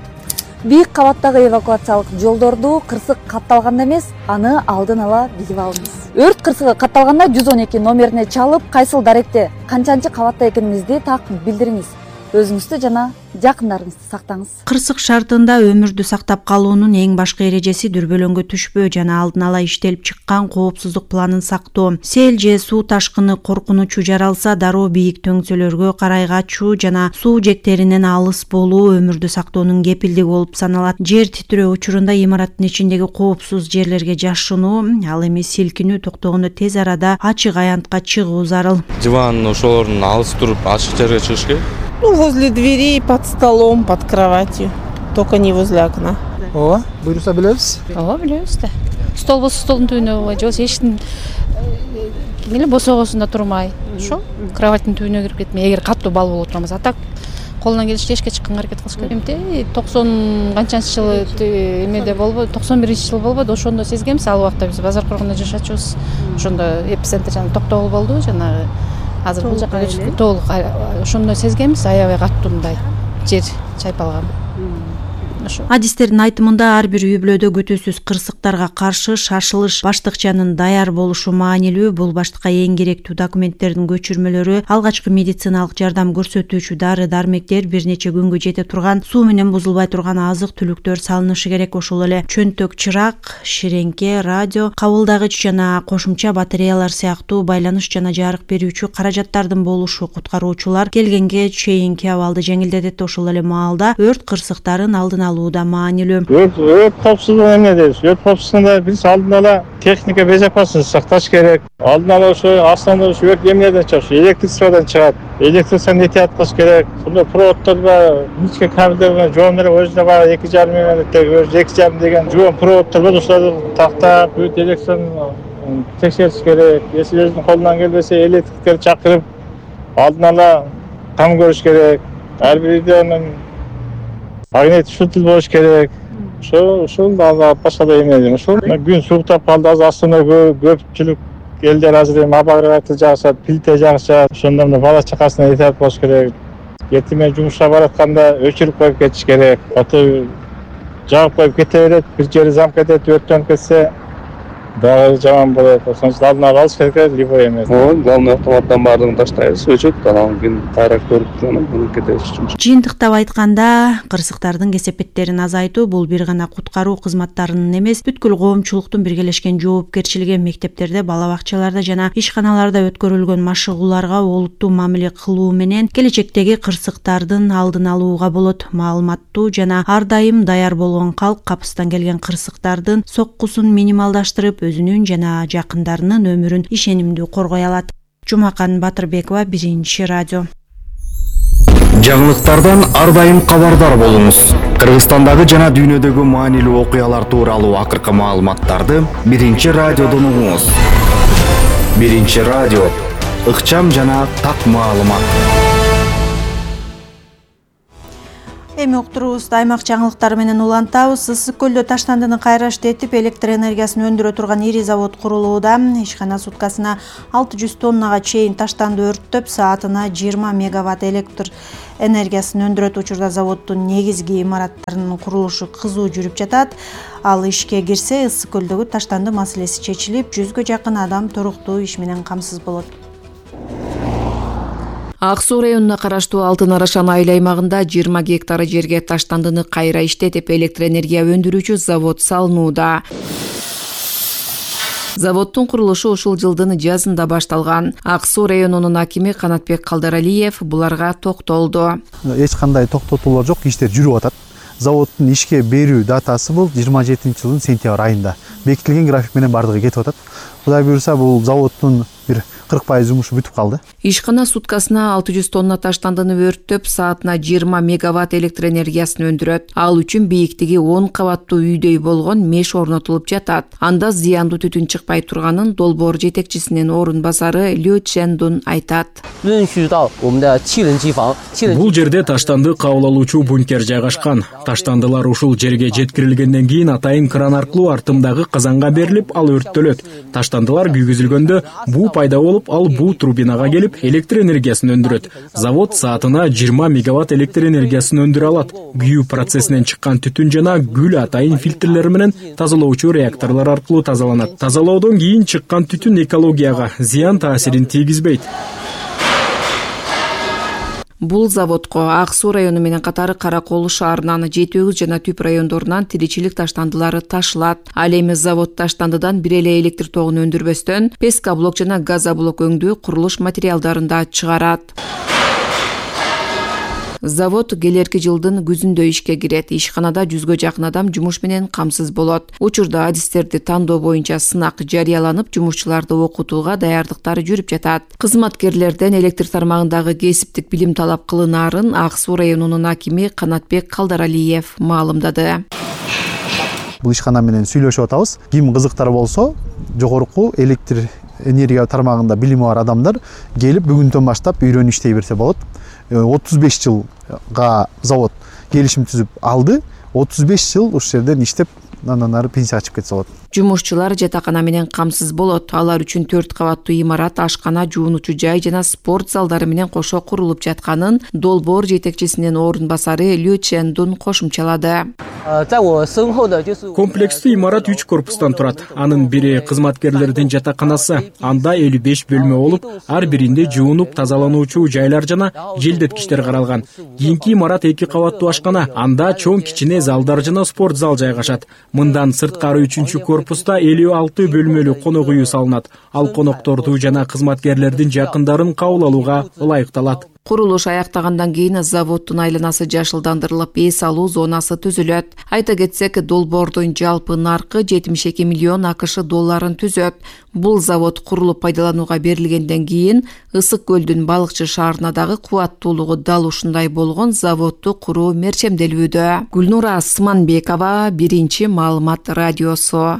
Бийик кабаттагы эвакуациялык жолдорду кырсык катталганда эмес, аны алдын ала билип алыңыз. Өрт кырсыгы катталганда жүз он эки номерине чалып, кайсыл даректе, канчанчы кабатта экениңизди так билдириңиз. Өзүңүздү жана жакындарыңызды сактаңыз. Кырсык шартында өмүрдү сактап калуунун эң башкы эрежеси дүрбөлөңгө түшпөө жана алдын ала иштелип чыккан коопсуздук планын сактоо. Сел же суу ташкыны коркунучу жаралса, дароо бийик төңсөлөргө карай качуу жана суу жектеринен алыс болуу өмүрдү сактоонун кепилдиги болуп саналат. Жер титирөө учурунда имараттын ичиндеги коопсуз жерлерге жашынуу, ал эми силкинүү токтогондо тез арада ачык аянтка чыгуу зарыл. Диван ошолордун алыс туруп ачык жерге чыгыш керек. Ну, возле дверей, под столом, под кроватью. Только не возле окна. Ооба, буйруса билебиз? Ооба, билебиз да. Стол болсо столдун түбүнө болбой, же болбосо эшиктин эле босогосунда турмай, ошо кроваттын түбүнө кирип кетмей, эгер катуу бал болуп турмаса, так колунан келишинче эшикке чыкканга аракет кылыш керек. Эмте токсон канчанчы жылы эмеде болбойт, токсон биринчи жыл болбойт, ошондо сезгенбиз. Ал убакта биз базар коргондо жашачубуз. Ошондо эпицентр жана Токтогул болду, жанагы азыр бул жака көчүп толук ошондо сезгенбиз, аябай катуу мындай жер чайпалган. Адистердин айтымында ар бир үй бүлөдө күтүүсүз кырсыктарга каршы шашылыш баштыкчанын даяр болушу маанилүү. Бул баштыкка эң керектүү документтердин көчүрмөлөрү, алгачкы медициналык жардам көрсөтүүчү дары дармектер, бир нече күнгө жете турган суу менен бузулбай турган азык түлүктөр салынышы керек. Ошол эле чөнтөк чырак, ширеңке, радио, кабылдагыч жана кошумча батареялар сыяктуу байланыш жана жарык берүүчү каражаттардын болушу куткаруучулар келгенге чейинки абалды жеңилдетет. Ошол эле маалда өрт кырсыктарын алдын алууда маанилүү. Өрт коопсуздугу эмне дейбиз? Өрт коопсуздугунда биз алдын ала техника безопасности сакташ керек. Алдын ала ошо астында ошо өрт эмнеден чыгат? Электричестводон чыгат. Электричествону этият кылыш керек. Сонда проводдорго ничке кабелдерге жоондар өзүнө бар эки жарым миллиметр, эки жарым деген жоон проводдор бар, ошолорду тактап, бүт электрону текшериш керек. Если өзүнүн колунан келбесе, электриктерди чакырып, алдын ала кам көрүш керек. Ар бир үйдөн магнит шутул болуш керек. Ошо ошол да башка да эмне дейм. Ошол күн сууктап калды, азыр астында көпчүлүк элдер азыр эми обогреватель жагышат, плита жагышат. Ошондо мына бала чакасына этият болуш керек. Эртең жумушка баратканда өчүрүп коюп кетиш керек. Аты жагып коюп кете берет, бир жери замк этет, өрттөнүп кетсе, дагы жаман болот. Ошон үчүн алдын ала алыш керек либо эмес. Ооба, главный автоматтан баардыгын таштайбыз, өчөт, анан кийин кайра көрүп анан кетебиз. Жыйынтыктап айтканда, кырсыктардын кесепеттерин азайтуу бул бир гана куткаруу кызматтарынын эмес, бүткүл коомчулуктун биргелешкен жоопкерчилиги. Мектептерде, бала бакчаларда жана ишканаларда өткөрүлгөн машыгууларга олуттуу мамиле кылуу менен келечектеги кырсыктардын алдын алууга болот. Маалыматтуу жана ар дайым даяр болгон калк капыстан келген кырсыктардын соккусун минималдаштырып, өзүнүн жана жакындарынын өмүрүн ишенимдүү коргой алат. Жумакан Батырбекова, Биринчи радио. Жаңылыктардан ар дайым кабардар болуңуз. Кыргызстандагы жана дүйнөдөгү маанилүү окуялар тууралуу акыркы маалыматтарды Биринчи радиодон угуңуз. Биринчи радио, ыкчам жана так маалымат. Эми уктуруубузду аймак жаңылыктары менен улантабыз. Ысык көлдө таштандыны кайра иштетип, электр энергиясын өндүрө турган ири завод курулууда. Ишкана суткасына алты жүз тоннага чейин таштанды өрттөп, саатына жыйырма мегаватт электр энергиясын өндүрөт. Учурда заводдун негизги имараттарынын курулушу кызуу жүрүп жатат. Ал ишке кирсе, ысык көлдөгү таштанды маселеси чечилип, жүзгө жакын адам туруктуу иш менен камсыз болот. Ак Суу районуна караштуу Алтын Арашан айыл аймагында жыйырма гектар жерге таштандыны кайра иштетип, электр энергия өндүрүүчү завод салынууда. Заводдун курулушу ушул жылдын жазында башталган. Ак Суу районунун акими Канатбек Калдаралиев буларга токтолду. Эч кандай токтотуулар жок, иштер жүрүп атат. Заводдун ишке берүү датасы бул жыйырма жетинчи жылдын сентябрь айында. Бекитилген график менен бардыгы кетип атат. Кудай буюрса, бул заводдун бир кырк пайыз жумушу бүтүп калды. Ишкана суткасына алты жүз тонна таштандыны өрттөп, саатына жыйырма мегаватт электр энергиясын өндүрөт. Ал үчүн бийиктиги он кабаттуу үйдөй болгон меш орнотулуп жатат. Анда зыяндуу түтүн чыкпай турганын долбоор жетекчисинин орун басары Лю Чендун айтат. Бул жерде таштанды кабыл алуучу бункер жайгашкан. Таштандылар ушул жерге жеткирилгенден кийин атайын кран аркылуу артымдагы казанга берилип, ал өрттөлөт. Таштандылар күйгүзүлгөндө буу пайда болуп, ал буу турбинага келип, электр энергиясын өндүрөт. Завод саатына жыйырма мегаватт электр энергиясын өндүрө алат. Күйүү процессинен чыккан түтүн жана күл атайын фильтрлер менен тазалоочу реакторлор аркылуу тазаланат. Тазалоодон кийин чыккан түтүн экологияга зыян таасирин тийгизбейт. Бул заводко Ак Суу району менен катары Кара Кол шаарынан, Жети Өгүз жана Түп райондорунан тиричилик таштандылары ташылат. Ал эми завод таштандыдан бир эле электр тогун өндүрбөстөн, пескоблок жана газоблок өңдүү курулуш материалдарын да чыгарат. Завод келерки жылдын күзүндө ишке кирет. Ишканада жүзгө жакын адам жумуш менен камсыз болот. Учурда адистерди тандоо боюнча сынак жарыяланып, жумушчуларды окутууга даярдыктар жүрүп жатат. Кызматкерлерден электр тармагындагы кесиптик билим талап кылынаарын Ак Суу районунун акими Канатбек Калдаралиев маалымдады. Бул ишкана менен сүйлөшүп атабыз. Ким кызыктар болсо, жогорку электр энергия тармагында билими бар адамдар келип бүгүндөн баштап үйрөнүп иштей берсе болот. отуз беш жылга завод келишим түзүп алды. отуз беш жыл ушул жерден иштеп, андан ары пенсияга чыгып кетсе болот. Жумушчулар жатакана менен камсыз болот. Алар үчүн төрт кабаттуу имарат, ашкана, жуунуучу жай жана спорт залдары менен кошо курулуп жатканын долбоор жетекчисинин орун басары Лю Чендун кошумчалады. Комплекстүү имарат үч корпустан турат. Анын бири кызматкерлердин жатаканасы. Анда элүү беш бөлмө болуп, ар биринде жуунуп тазалануучу жайлар жана желдеткичтер каралган. Кийинки имарат эки кабаттуу ашкана. Анда чоң кичине залдар жана спорт зал жайгашат. Мындан сырткары үчүнчү корпуста элүү алты бөлмөлүү конок үйү салынат. Ал конокторду жана кызматкерлердин жакындарын кабыл алууга ылайыкталат. Курулуш аяктагандан кийин заводдун айланасы жашылдандырылып, эс алуу зонасы түзүлөт. Айта кетсек, долбоордун жалпы наркы жетимиш эки миллион АКШ долларын түзөт. Бул завод курулуп пайдаланууга берилгенден кийин Ысык көлдүн Балыкчы шаарына дагы кубаттуулугу дал ушундай болгон заводду куруу мерчемделүүдө. Гүлнура Асманбекова, Биринчи маалымат радиосу.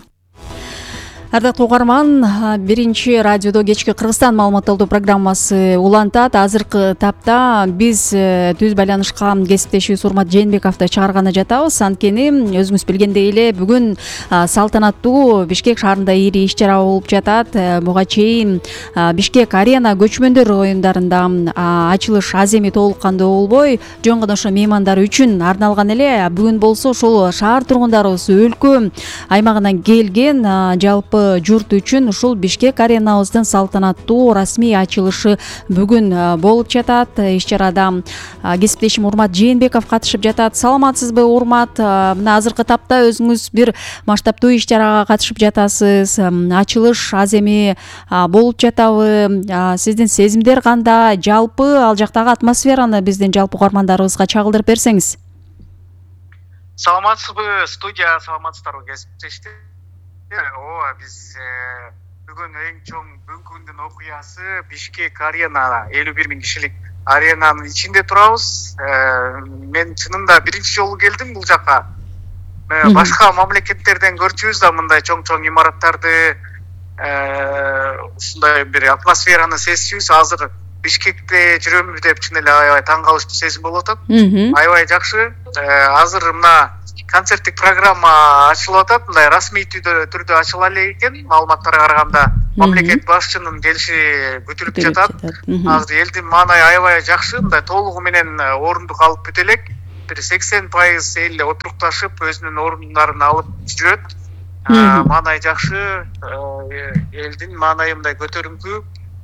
Ардактуу угарман, Биринчи радиодо кечки Кыргызстан маалыматталдоо программасы улантат. Азыркы тапта биз түз байланышка кесиптешибиз Урмат Жээнбековду чыгарганы жатабыз. Анткени өзүңүз билгендей эле бүгүн салтанаттуу Бишкек шаарында ири иш чара болуп жатат. Буга чейин Бишкек арена көчмөндөр оюндарында ачылыш аз эми толук кандуу болбой, жөн гана ошо меймандар үчүн арналган эле. Бүгүн болсо ошол шаар тургундарыбыз өлкө аймагынан келген, жалпы жалпы журт үчүн ушул Бишкек аренабыздын салтанаттуу расмий ачылышы бүгүн болуп жатат. Иш чарада кесиптешим Урмат Жээнбеков катышып жатат. Саламатсызбы, Урмат? Мына азыркы тапта өзүңүз бир масштабтуу иш чарага катышып жатасыз. Ачылыш аз эми болуп жатабы? Сиздин сезимдер кандай? Жалпы ал жактагы атмосфераны биздин жалпы угармандарыбызга чагылдырып берсеңиз. Саламатсызбы, студия, саламатсыздарбы кесиптештер. Ооба, биз бүгүн эң чоң бүгүнкү күндүн окуясы Бишкек арена, элүү бир миң кишилик аренанын ичинде турабыз. Мен чынында биринчи жолу келдим бул жакка. Башка мамлекеттерден көрчүбүз да мындай чоң-чоң имараттарды, ушундай бир атмосфераны сезчүбүз. Азыр Бишкекте жүрөмүз деп чын эле аябай таң калыштуу сезим болуп атат. Аябай жакшы. Азыр мына концерттик программа ачылып атат. Мындай расмий түрдө ачыла эле экен. Маалыматтарга караганда мамлекет башчынын келиши күтүлүп жатат. Азыр элдин маанайы аябай жакшы. Мындай толугу менен орундук алып бүт элек. Бир сексен пайыз эл отурукташып, өзүнүн орундарын алып жүрөт. Маанайы жакшы. Элдин маанайы мындай көтөрүңкү.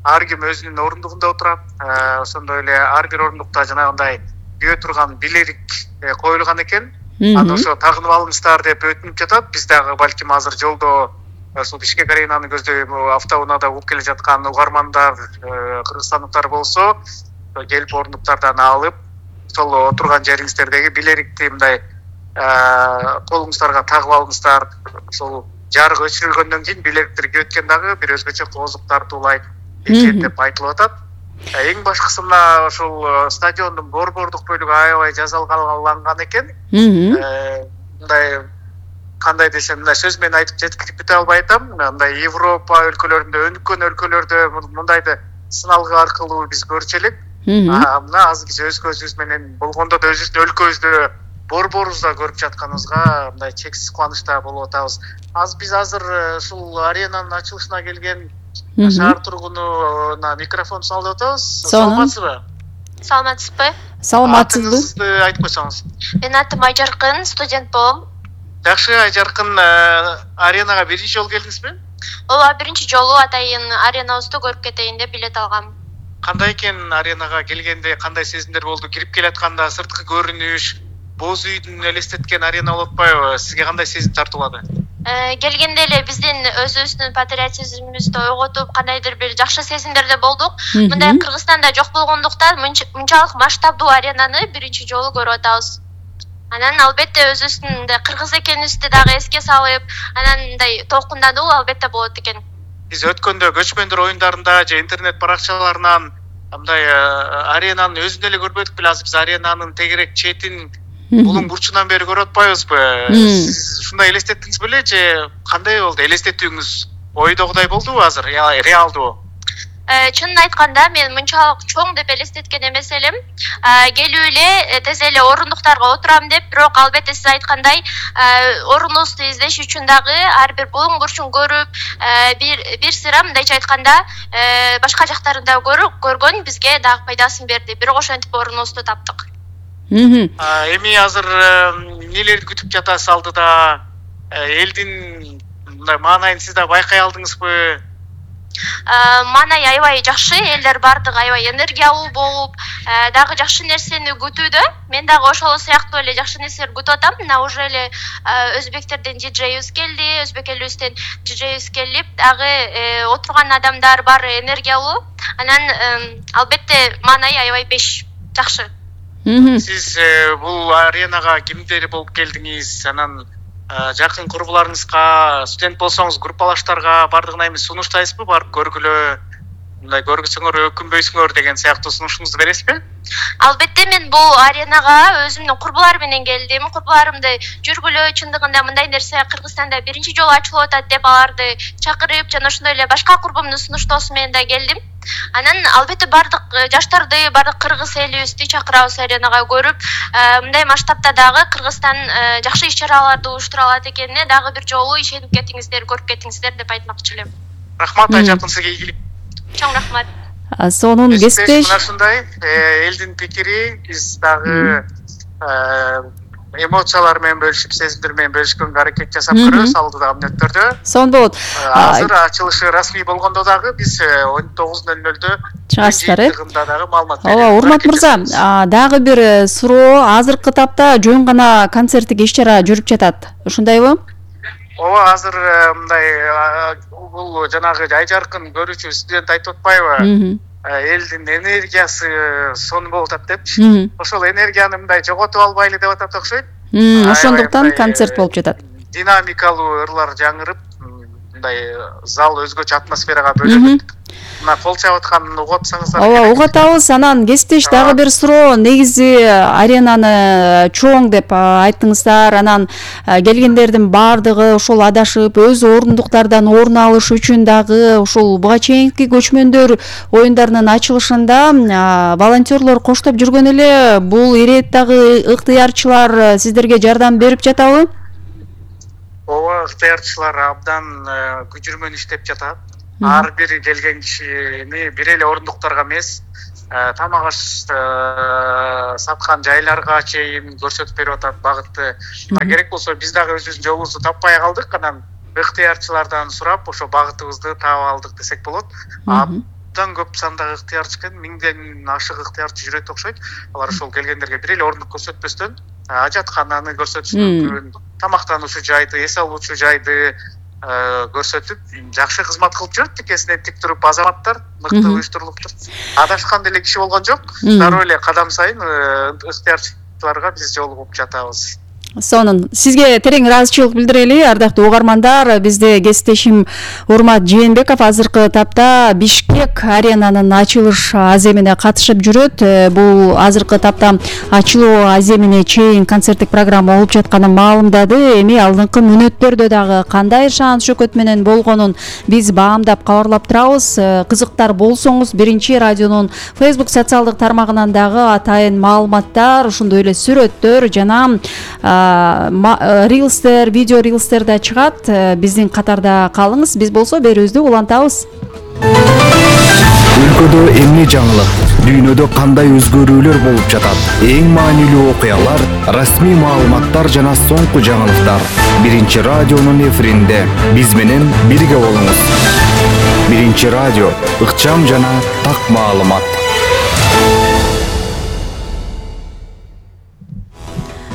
Ар ким өзүнүн орундугунда отурат. Ошондой эле ар бир орундукта жанагындай күйө турган билерик коюлган экен. Аны ошо тагынып алыңыздар деп өтүнүп жатат. Биз дагы балким азыр жолдо ушул Бишкек аренаны көздөп автоунаада угуп келе жаткан угармандар, кыргызстандыктар болсо, келип орундуктардан алып, ошол отурган жериңиздердеги билерикти мындай колуңуздарга тагып алыңыздар. Ошол жарык өчүрүлгөндөн кийин билериктерге өткөн дагы бир өзгөчө коозук тартуулайт экен деп айтылып атат. Эң башкысы мына ошол стадиондун борбордук бөлүгү аябай жасалгаланган экен. Мындай кандай десем, мындай сөз менен айтып жеткирип бүтө албай атам. Мындай Европа өлкөлөрүндө, өнүккөн өлкөлөрдө мындайды сыналгы аркылуу биз көрчү элек. Мына азыр биз өз көзүбүз менен болгондо да өзүбүздүн өлкөбүздө борборубузда көрүп жатканыбызга мындай чексиз кубанычта болуп атабыз. Азыр биз азыр ушул аренанын ачылышына келген шаар тургунуна микрофон салып атабыз. Саламатсызбы? Саламатсызбы? Саламатсызбы? Атыңызды айтып койсоңуз. Менин атым Айжаркын, студент болом. Жакшы, Айжаркын, аренага биринчи жолу келдиңизби? Ооба, биринчи жолу атайын аренабызды көрүп кетейин деп билет алгам. Кандай экен аренага келгенде, кандай сезимдер болду? Кирип келатканда сырткы көрүнүш, боз үйдүн элестеткен арена болуп атпайбы? Сизге кандай сезим тартуулады? Келгенде эле биздин өзүбүздүн патриотизмибизди ойготуп, кандайдыр бир жакшы сезимдерде болдук. Мындай Кыргызстанда жок болгондуктан мынчалык масштабдуу аренаны биринчи жолу көрүп атабыз. Анан албетте өзүбүздүн мындай кыргыз экенибизди дагы эске салып, анан мындай толкундануу албетте болот экен. Биз өткөндө көчмөндөр оюндарында же интернет баракчаларынан мындай аренанын өзүн эле көрбөдүк беле. Азыр биз аренанын тегерек четин булуң бурчунан бери көрүп атпайбызбы? Сиз ушундай элестеттиңиз беле же кандай болду? Элестетүүңүз ойдогудай болдубу азыр? Реалдуу? Чынын айтканда мен мынчалык чоң деп элестеткен эмес элем. Келип эле тез эле орундуктарга отурам деп, бирок албетте сиз айткандай орунубузду издеш үчүн дагы ар бир булуң бурчун көрүп, бир бир сыйра мындайча айтканда башка жактарын да көргөн бизге дагы пайдасын берди. Бирок ошентип орунубузду таптык. Эми азыр эмнелерди күтүп жатасыз алдыда? Элдин мындай маанайын сиз да байкай алдыңызбы? Маанай аябай жакшы, элдер бардыгы аябай энергиялуу болуп, дагы жакшы нерсени күтүүдө. Мен дагы ошол сыяктуу эле жакшы нерселерди күтүп атам. Мына уже эле өзбектерден диджейибиз келди, өзбек элибизден диджейибиз келип, дагы отурган адамдар баары энергиялуу. Анан албетте маанай аябай беш. Жакшы. Сиз бул аренага кимдер болуп келдиңиз? Анан жакын курбуларыңызга, студент болсоңуз группалаштарга бардыгына эми сунуштайсызбы? Барып көргүлө, мындай көргүсөңөр өкүнбөйсүңөр деген сыяктуу сунушуңузду бересизби? Албетте мен бул аренага өзүмдүн курбуларым менен келдим. Курбуларымды жүргүлө, чындыгында мындай нерсе Кыргызстанда биринчи жолу ачылып атат деп аларды чакырып, жана ошондой эле башка курбумдун сунуштоосу менен да келдим. Анан албетте бардык жаштарды, бардык кыргыз элибизди чакырабыз аренага көрүп, мындай масштабта дагы Кыргызстан жакшы иш-чараларды уюштура алат экенине дагы бир жолу ишенип кетиңиздер, көрүп кетиңиздер деп айтмакчы элем. Рахмат, Айжаркын, сизге ийгилик. Чоң рахмат. Сонун кесиптеш. Мына ушундай элдин пикири, биз дагы эмоциялар менен бөлүшүп, сезимдер менен бөлүшкөнгө аракет жасап көрөбүз алдыдагы мүнөттөрдө. Сонун болот. Азыр ачылышы расмий болгондо дагы биз он тогуз нөл нөлдө чыгасыздар, э? дагы маалымат беребиз. Ооба, урмат мырза, дагы бир суроо. Азыркы тапта жөн гана концерттик иш-чара жүрүп жатат. Ушундайбы? Ооба, азыр мындай бул жанагы жай жаркын көрүүчү студент айтып атпайбы? Элдин энергиясы сонун болуп атат депчи. Ошол энергияны мындай жоготуп албайлы деп атат окшойт. Ошондуктан концерт болуп жатат. Динамикалуу ырлар жаңырып, мындай зал өзгөчө атмосферага бөлөнүп, мына кол чабып атканын угуп атсаңыздар. Ооба, угуп атабыз. Анан кесиптеш дагы бир суроо. Негизи аренаны чоң деп айттыңыздар. Анан келгендердин баардыгы ошол адашып, өз орундуктардан орун алыш үчүн дагы ушул буга чейинки көчмөндөр оюндарынын ачылышында волонтерлор коштоп жүргөн эле. Бул иреттагы ыктыярчылар сиздерге жардам берип жатабы? Ооба, ыктыярчылар абдан күжүрмөн иштеп жатат. Ар бир келген кишини бир эле орундуктарга эмес, тамак аш саткан жайларга чейин көрсөтүп берип атат багытты. Керек болсо биз дагы өзүбүздүн жолубузду таппай калдык, анан ыктыярчылардан сурап ошо багытыбызды таап алдык десек болот. Абдан көп сандагы ыктыярчы экен, миңден ашык ыктыярчы жүрөт окшойт. Алар ошол келгендерге бир эле орундук көрсөтпөстөн ажаткананы көрсөтүш мүмкүн, тамактануучу жайды, эс алуучу жайды көрсөтүп, жакшы кызмат кылып жүрөт. Тикесинен тик туруп азаматтар мыкты уюштурулуптур. Адашкан деле киши болгон жок. Дароо эле кадам сайын ыктыярчыларга биз жолугуп жатабыз. Сонун. Сизге терең ыраазычылык билдирели, ардактуу угармандар. Бизде кесиптешим Урмат Жээнбеков азыркы тапта Бишкек аренанын ачылыш аземине катышып жүрөт. Бул азыркы тапта ачылуу аземине чейин концерттик программа болуп жатканын маалымдады. Эми алдыңкы мүнөттөрдө дагы кандай шаан шөкөт менен болгонун биз баамдап кабарлап турабыз. Кызыктар болсоңуз, биринчи радионун Facebook социалдык тармагынан дагы атайын маалыматтар, ошондой эле сүрөттөр жана рилстер, видео рилстер да чыгат. Биздин катарда калыңыз. Биз болсо берүүбүздү улантабыз. Өлкөдө эмне жаңылык, дүйнөдө кандай өзгөрүүлөр болуп жатат? Эң маанилүү окуялар, расмий маалыматтар жана соңку жаңылыктар. Биринчи радионун эфиринде биз менен бирге болуңуз. Биринчи радио, ыкчам жана так маалымат.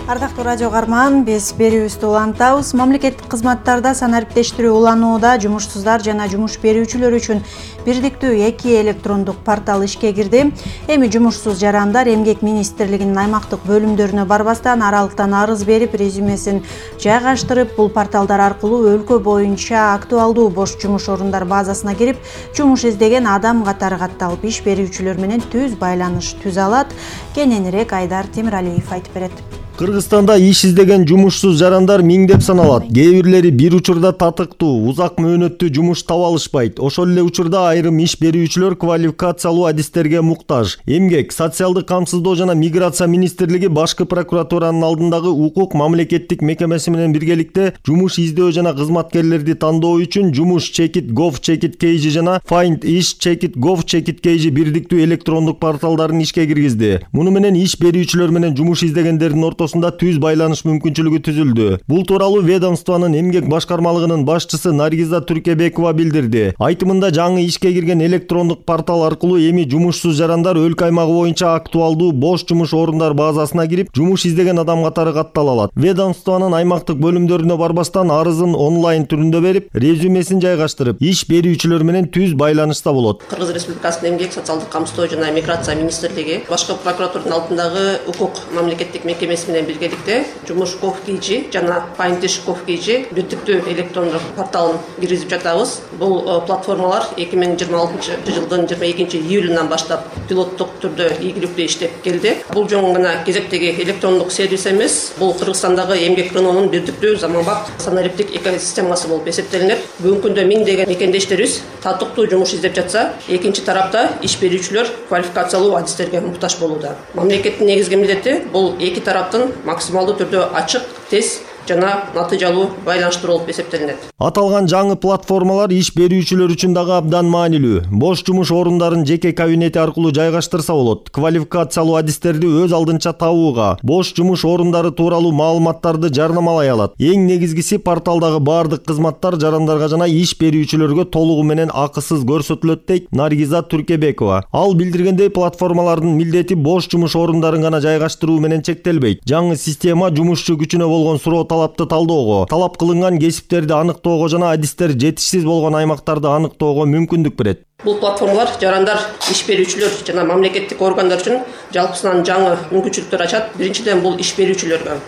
Ардактуу радио карман, биз берүүбүздү улантабыз. Мамлекеттик кызматтарда санариптештирүү уланууда жумушсуздар жана жумуш берүүчүлөр үчүн бирдиктүү эки электрондук портал ишке кирди. Эми жумушсуз жарандар Эмгек министрлигинин аймактык бөлүмдөрүнө барбастан аралыктан арыз берип, резюмесин жайгаштырып, бул порталдар аркылуу өлкө боюнча актуалдуу бош жумуш орундар базасына кирип, жумуш издеген адам катары катталып, иш берүүчүлөр менен түз байланыш түзө алат. Кененирээк Айдар Темиралиев айтып берет. Кыргызстанда иш издеген жумушсуз жарандар миңдеп саналат. Кээ бирлери бир учурда татыктуу, узак мөөнөттүү жумуш таба алышпайт. Ошол эле учурда айрым иш берүүчүлөр квалификациялуу адистерге муктаж. Эмгек, социалдык камсыздоо жана миграция министрлиги башкы прокуратуранын алдындагы укук мамлекеттик мекемеси менен биргеликте жумуш издөө жана кызматкерлерди тандоо үчүн жумуш чекит gov чекит kg жана find ish чекит gov чекит kg бирдиктүү электрондук порталдарын ишке киргизди. Муну менен иш берүүчүлөр менен жумуш издегендердин ортосунда түз байланыш мүмкүнчүлүгү түзүлдү. Бул тууралуу ведомствонун эмгек башкармалыгынын башчысы Наргиза Түркебекова билдирди. Айтымында жаңы ишке кирген электрондук портал аркылуу эми жумушсуз жарандар өлкө аймагы боюнча актуалдуу бош жумуш орундар базасына кирип, жумуш издеген адам катары каттала алат. Ведомствонун аймактык бөлүмдөрүнө барбастан арызын онлайн түрүндө берип, резюмесин жайгаштырып, иш берүүчүлөр менен түз байланышта болот. Кыргыз Республикасынын эмгек социалдык камсыздоо жана миграция министрлиги башкы прокуратуранын алдындагы укук мамлекеттик мекемеси менен биргеликте жумуш gov kg жана find ish gov kg бирдиктүү электрондук порталын киргизип жатабыз. Бул платформалар эки миң жыйырма алтынчы жылдын жыйырма экинчи июлунан баштап пилоттук түрдө ийгиликтүү иштеп келди. Бул жөн гана кезектеги электрондук сервис эмес, бул Кыргызстандагы эмгек рыногунун бирдиктүү заманбап санариптик экосистемасы болуп эсептелинет. Бүгүнкү күндө миңдеген мекендештерибиз татыктуу жумуш издеп жатса, экинчи тарапта иш берүүчүлөр квалификациялуу адистерге муктаж болууда. Мамлекеттин негизги милдети бул эки тараптын максималдуу түрдө ачык, тез жана натыйжалуу байланыштыруу болуп эсептелинет. Аталган жаңы платформалар иш берүүчүлөр үчүн дагы абдан маанилүү. Бош жумуш орундарын жеке кабинети аркылуу жайгаштырса болот. Квалификациялуу адистерди өз алдынча табууга, бош жумуш орундары тууралуу маалыматтарды жарнамалай алат. Эң негизгиси порталдагы баардык кызматтар жарандарга жана иш берүүчүлөргө толугу менен акысыз көрсөтүлөт дейт Наргиза Туркебекова. Ал билдиргендей, платформалардын милдети бош жумуш орундарын гана жайгаштыруу менен чектелбейт. Жаңы система жумушчу күчүнө болгон суроо талапты талоого, талап кылынган кесиптерди аныктоого жана адистер жетишсиз болгон аймактарды аныктоого мүмкүндүк берет. Бул платформалар жарандар, иш берүүчүлөр жана мамлекеттик органдар үчүн жалпысынан жаңы мүмкүнчүлүктөр ачат. Биринчиден бул иш берүүчүлөргө.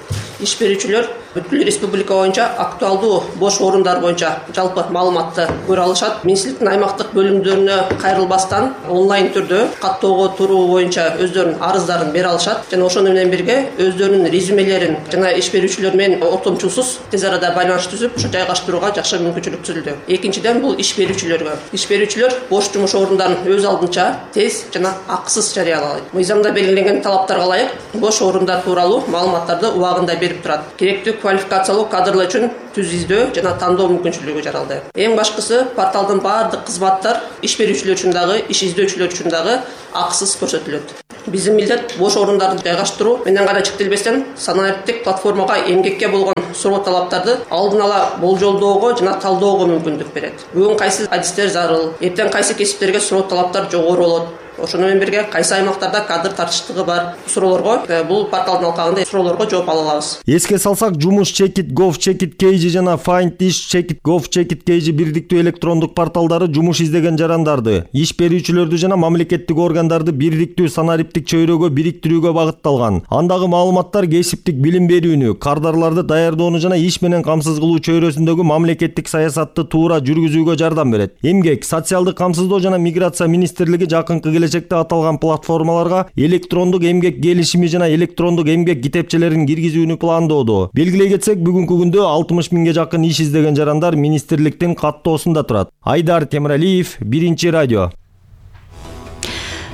Иш берүүчүлөр бүткүл республика боюнча актуалдуу бош орундар боюнча жалпы маалыматты көрө алышат. Министрликтин аймактык бөлүмдөрүнө кайрылбастан онлайн түрдө каттоого туруу боюнча өздөрүнүн арыздарын бере алышат жана ошону менен бирге өздөрүнүн резюмелерин жана иш берүүчүлөр менен ортомчулсуз тез арада байланыш түзүп, ошо жайгаштырууга жакшы мүмкүнчүлүк түзүлдү. Экинчиден бул иш берүүчүлөргө. Иш берүүчүлөр бош жумуш орундарын өз алдынча тез жана акысыз жарыялайт. Мыйзамда белгиленген талаптарга ылайык бош орундар тууралуу маалыматтарды убагында берип турат. Керектүү квалификациялуу кадрлар үчүн түз издөө жана тандоо мүмкүнчүлүгү жаралды. Эң башкысы, порталдын баардык кызматтар иш берүүчүлөр үчүн дагы, иш издөөчүлөр үчүн дагы акысыз көрсөтүлөт. Биздин милдет бош орундарды жайгаштыруу менен гана чектелбестен, санариптик платформага эмгекке болгон суроо талаптарды алдын ала болжолдоого жана талдоого мүмкүндүк берет. Бүгүн кайсы адистер зарыл, эртең кайсы кесиптерге суроо талаптар жогору болот. Ошону менен бирге кайсы аймактарда кадр тартыштыгы бар суроолорго бул порталдын алкагында суроолорго жооп ала алабыз. Эске салсак, жумуш чекит gov чекит kg жана find ish чекит gov чекит kg бирдиктүү электрондук порталдары жумуш издеген жарандарды, иш берүүчүлөрдү жана мамлекеттик органдарды бирдиктүү санариптик чөйрөгө бириктирүүгө багытталган. Андагы маалыматтар кесиптик билим берүүнү, кардарларды даярдоону жана иш менен камсыз кылуу чөйрөсүндөгү мамлекеттик саясатты туура жүргүзүүгө жардам берет. Эмгек, социалдык камсыздоо жана миграция министрлиги жакынкы келечекте аталган платформаларга электрондук эмгек келишими жана электрондук эмгек китепчелерин киргизүүнү пландоодо. Белгилей кетсек, бүгүнкү күндө алтымыш миңге жакын иш издеген жарандар министрликтин каттоосунда турат. Айдар Темиралиев, Биринчи радио.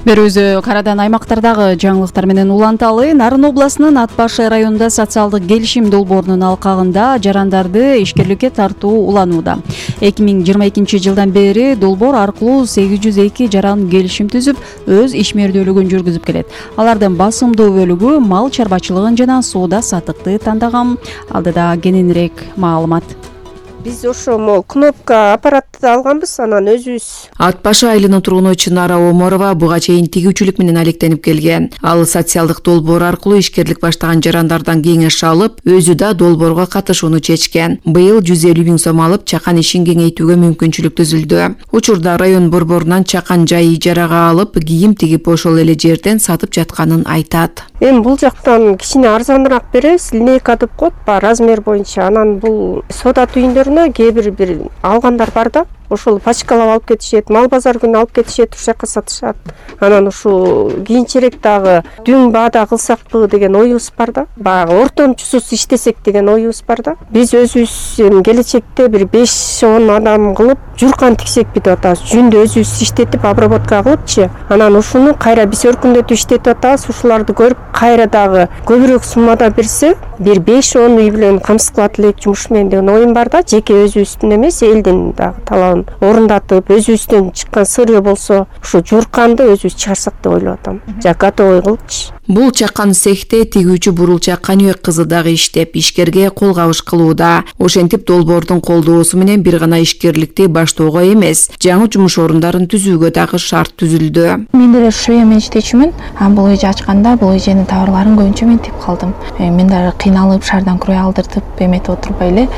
Берүүбүздү карадан аймактардагы жаңылыктар менен уланталы. Нарын областынын Ат Башы районунда социалдык келишим долбоорунун алкагында жарандарды ишкерликке тартуу уланууда. эки миң жыйырма экинчи жылдан бери долбоор аркылуу сегиз жүз эки жаран келишим түзүп, өз ишмердүүлүгүн жүргүзүп келет. Алардын басымдуу бөлүгү мал чарбачылыгын жана соода саттыкты тандаган. Алдыда кененирээк маалымат. Биз ошо могу кнопка аппаратты алганбыз, анан өзүбүз. Ат Башы айылынын тургуну Чынара Оморова буга чейин тигүүчүлүк менен алектенип келген. Ал социалдык долбоор аркылуу ишкерлик баштаган жарандардан кеңеш алып, өзү да долбоорго катышууну чечкен. Быйыл жүз элүү миң сом алып, чакан ишин кеңейтүүгө мүмкүнчүлүк түзүлдү. Учурда район борборунан чакан жай ижарага алып, кийим тигип ошол эле жерден сатып жатканын айтат. Эми бул жактан кичине арзаныраак беребиз, линейка деп коет, размер боюнча. Анан бул соода түйүндөрүнө кээ бир бир алгандар бар да, ошол пачкалап алып кетишет, мал базар күнү алып кетишет, ушул жака сатышат. Анан ушул кийинчерээк дагы дүң баада кылсакпы деген оюбуз бар да. Баягы ортомчусуз иштесек деген оюбуз бар да. Биз өзүбүз келечекте бир беш он адам кылып журкан тиксекпи деп атабыз. Жүндү өзүбүз иштетип, обработка кылыпчы. Анан ушуну кайра биз өркүндөтүп иштетип атабыз. Ушуларды көрүп кайра дагы көбүрөөк суммада берсе, бир беш он үй менен камсыз кылат элек жумуш менен деген оюм бар да. Жеке өзүбүздүн эмес, элдин дагы талабын орундатып, өзүбүздөн чыккан сыры болсо, ушу журканды өзүбүз чыгарсак деп ойлоп атам. Жа готовый кылыпчы. Бул чакан цехте тигүүчү Бурулча Каныбек кызы дагы иштеп, ишкерге кол кабыш кылууда. Ошентип долбоордун колдоосу менен бир гана ишкерликти баштоого эмес, жаңы жумуш орундарын түзүүгө дагы шарт түзүлдү. Мен деле швей менен иштечүмүн. Бул эже ачканда бул эженин товарларын көбүнчө мен тип калдым. Мен дагы кыйналып, шаардан крой алдыртып, эметип отурбай эле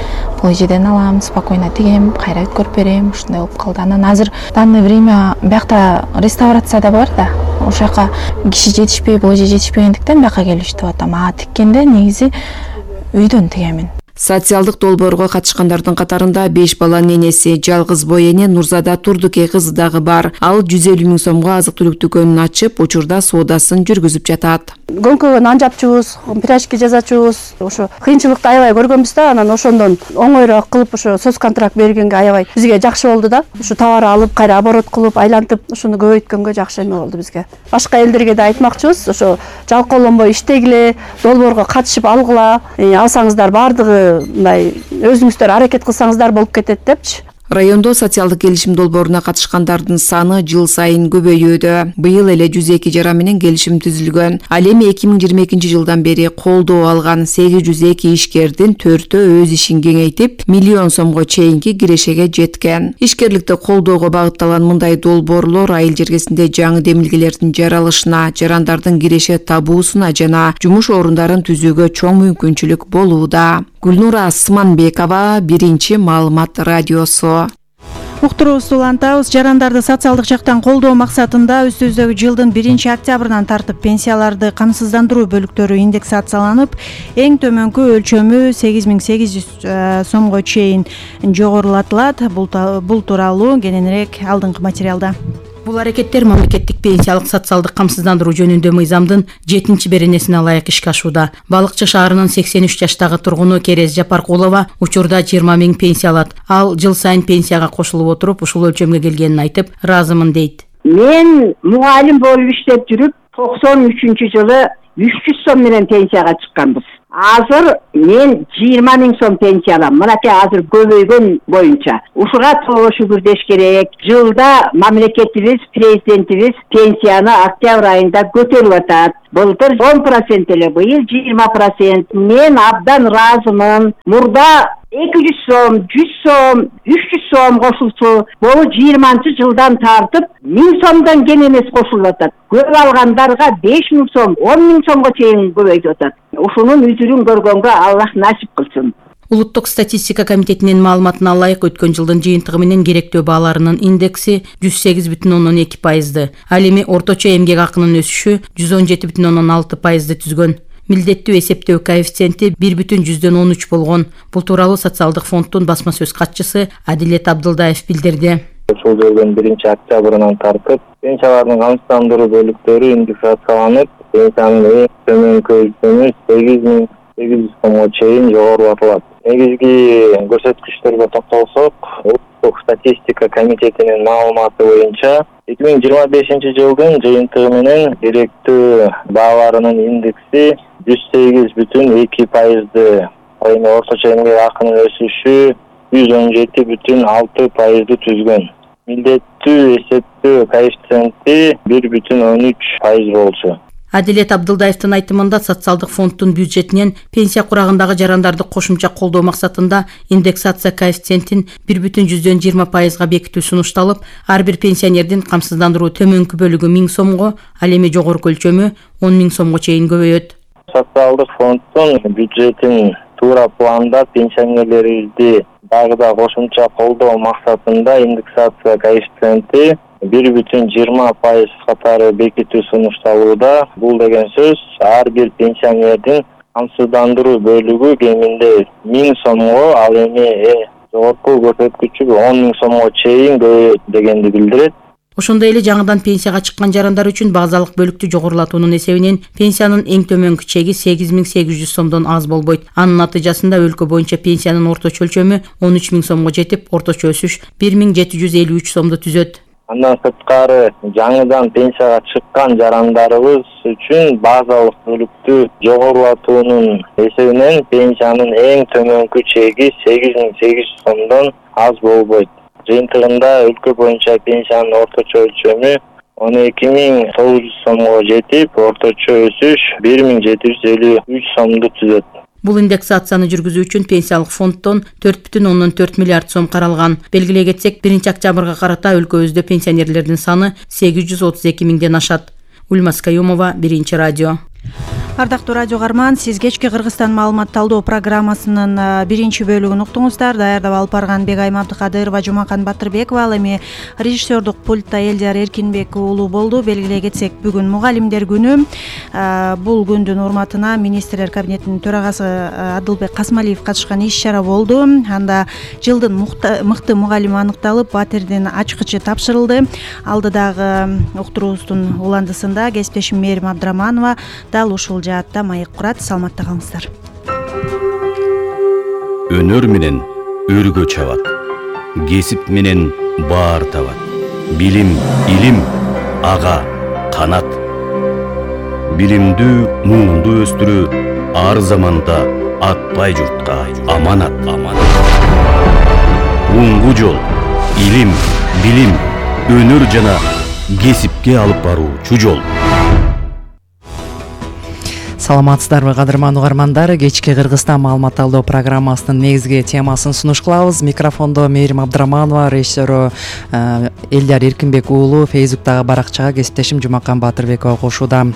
бул эжеден алам, спокойно тигем, кайра өткөрүп берем, ушундай болуп калды. Анан азыр данное время биякта реставрация да бар да. Ошол жака киши жетишпей, бул эже жетишпегендиктен бияка келип иштеп атам. А тиккенде негизи үйдөн тигемин. Социалдык долбоорго катышкандардын катарында беш баланын энеси, жалгыз бой эне Нурзада Турдуке кызы дагы бар. Ал жүз элүү миң сомго азык түлүк дүкөнүн ачып, учурда соодасын жүргүзүп жатат. Гонкага нан жапчубуз, пирожки жасачубуз. Ошо кыйынчылыкты аябай көргөнбүз да, анан ошондон оңоюраак кылып ошо соц контракт бергенге аябай бизге жакшы болду да. Ушу товар алып, кайра оборот кылып, айлантып, ушуну көбөйткөнгө жакшы эме болду бизге. Башка элдерге да айтмакчыбыз, ошо жалкоолонбой иштегиле, долбоорго катышып алгыла. Алсаңыздар баардыгы мындай өзүңүздөр аракет кылсаңыздар болуп кетет депчи. Райондо социалдык келишим долбооруна катышкандардын саны жыл сайын көбөйүүдө. Быйыл эле жүз эки жара менен келишим түзүлгөн. Ал эми эки миң жыйырма экинчи жылдан бери колдоо алган сегиз жүз эки ишкердин төртөө өз ишин кеңейтип, миллион сомго чейинки кирешеге жеткен. Ишкерликти колдоого багытталган мындай долбоорлор айыл жергесинде жаңы демилгелердин жаралышына, жарандардын киреше табуусуна жана жумуш орундарын түзүүгө чоң мүмкүнчүлүк болууда. Гүлнура Сманбекова, Биринчи маалымат радиосу. Уктуруубузду улантабыз. Жарандарды социалдык жактан колдоо максатында үстүбүздөгү жылдын биринчи октябрынан тартып пенсияларды камсыздандыруу бөлүктөрү индексацияланып, эң төмөнкү өлчөмү сегиз миң сегиз жүз сомго чейин жогорулатылат. Бул тууралуу кененирээк алдыңкы материалда. Бул аракеттер мамлекеттик пенсиялык социалдык камсыздандыруу жөнүндө мыйзамдын жетинчи беренесине ылайык ишке ашууда. Балыкчы шаарынын сексен үч жаштагы тургуну Керез Жапаркулова учурда жыйырма миң пенсия алат. Ал жыл сайын пенсияга кошулуп отуруп, ушул өлчөмгө келгенин айтып, ыраазымын дейт. Мен мугалим болуп иштеп жүрүп, токсон үчүнчү жылы үч жүз сом менен пенсияга чыкканбыз. Азыр мен жыйырма миң сом пенсия алам. Мынакей азыр көбөйгөн боюнча. Ушуга толо шүгүр деш керек. Жылда мамлекетибиз, президентибиз пенсияны октябрь айында көтөрүп атат. Былтыр он процент эле, быйыл жыйырма процент. Мен абдан ыраазымын. Мурда эки жүз сом, жүз сом, үч жүз сом кошулчу. Бул жыйырманчы жылдан тартып миң сомдон кем эмес кошулуп атат. Көп алгандарга беш миң сом, он миң сомго чейин көбөйтүп атат. Ушунун үзүрүн көргөнгө Аллах насип кылсын. Улуттук статистика комитетинин маалыматына ылайык өткөн жылдын жыйынтыгы менен керектөө бааларынын индекси жүз сегиз бүтүн ондон эки пайызды. Ал эми орточо эмгек акынын өсүшү жүз он жети бүтүн ондон алты пайызды түзгөн. Милдеттүү эсептөө коэффициенти бир бүтүн жүздөн он үч болгон. Бул тууралуу социалдык фонддун басма сөз катчысы Адилет Абдылдаев билдирди. Ушул жылдын биринчи октябрынан тартып пенсиялардын камсыздандыруу бөлүктөрү индексацияланып, пенсиянын эң төмөнкү өлчөмү сегиз миң сегиз жүз сомго чейин жогорулатылат. Негизги көрсөткүчтөргө токтолсок, улуттук статистика комитетинин маалыматы боюнча эки миң жыйырма бешинчи жылдын жыйынтыгы менен керектөө бааларынын индекси жүз сегиз бүтүн эки пайызды, ал эми орточо эмгек акынын өсүшү жүз он жети бүтүн алты пайызды түзгөн. Милдеттүү эсептөө коэффициенти бир бүтүн он үч пайыз болчу. Адилет Абдылдаевдин айтымында социалдык фонддун бюджетинен пенсия курагындагы жарандарды кошумча колдоо максатында индексация коэффициентин бир бүтүн жүздөн жыйырма пайызга бекитүү сунушталып, ар бир пенсионердин камсыздандыруу төмөнкү бөлүгү миң сомго, ал эми жогорку өлчөмү он миң сомго чейин көбөйөт. Социалдык фонддун бюджетин туура планда пенсионерлерибизди дагы да кошумча колдоо максатында индексация коэффициенти бир бүтүн жыйырма пайыз катары бекитүү сунушталууда. Бул деген сөз ар бир пенсионердин камсыздандыруу бөлүгү кеминде миң сомго, ал эми эң жогорку көрсөткүчү он миң сомго чейин көбөйөт дегенди билдирет. Ошондой эле жаңыдан пенсияга чыккан жарандар үчүн базалык бөлүктү жогорулатуунун эсебинен пенсиянын эң төмөнкү чеги сегиз миң сегиз жүз сомдон аз болбойт. Анын натыйжасында өлкө боюнча пенсиянын орточо өлчөмү он үч миң сомго жетип, орточо өсүш бир миң жети жүз элүү үч сомду түзөт. Андан сырткары жаңыдан пенсияга чыккан жарандарыбыз үчүн базалык бөлүктү жогорулатуунун эсебинен пенсиянын эң төмөнкү чеги сегиз миң сегиз жүз сомдон аз болбойт. Жыйынтыгында өлкө боюнча пенсиянын орточо өлчөмү он эки миң тогуз жүз сомго жетип, орточо өсүш бир миң жети жүз элүү үч сомду түзөт. Бул индексацияны жүргүзүү үчүн пенсиялык фонддон төрт бүтүн ондон төрт миллиард сом каралган. Белгилей кетсек, биринчи октябрга карата өлкөбүздө пенсионерлердин саны сегиз жүз отуз эки миңден ашат. Ульмас Каюмова, Биринчи радио. Ардактуу радио каарман, сиз кечки Кыргызстан маалымат талдоо программасынын биринчи бөлүгүн уктуңуздар. Даярдап алып барган Бегайым Абдыкадырова, Жумакан Батырбекова, ал эми режиссердук пультта Элдияр Эркинбек уулу болду. Белгилей кетсек, бүгүн мугалимдер күнү. Бул күндүн урматына министрлер кабинетинин төрагасы Адылбек Касмалиев катышкан иш-чара болду. Анда жылдын мыкты мугалими аныкталып, батирдин ачкычы тапшырылды. Алдыдагы уктуруубуздун уландысында кесиптешим Мээрим Абдыраманова дал ушул жаатта маек курат. Саламатта калыңыздар. Өнөр менен өргө чабат, кесип менен баар табат. Билим, илим, ага, канат. Билимдүү, муңду өстүрүү ар заманда атпай журтка аманат аманат. Оңгу жол илим, билим, өнөр жана кесипке алып баруучу жол. Саламатсыздарбы кадырман угармандар, кечки Кыргызстан маалымат алдоо программасынын негизги темасын сунуш кылабыз. Микрофондо Мээрим Абдыраманова, режиссеру Элдияр Эркинбек уулу, Фейсбуктагы баракчага кесиптешим Жумакан Батырбекова кошууда.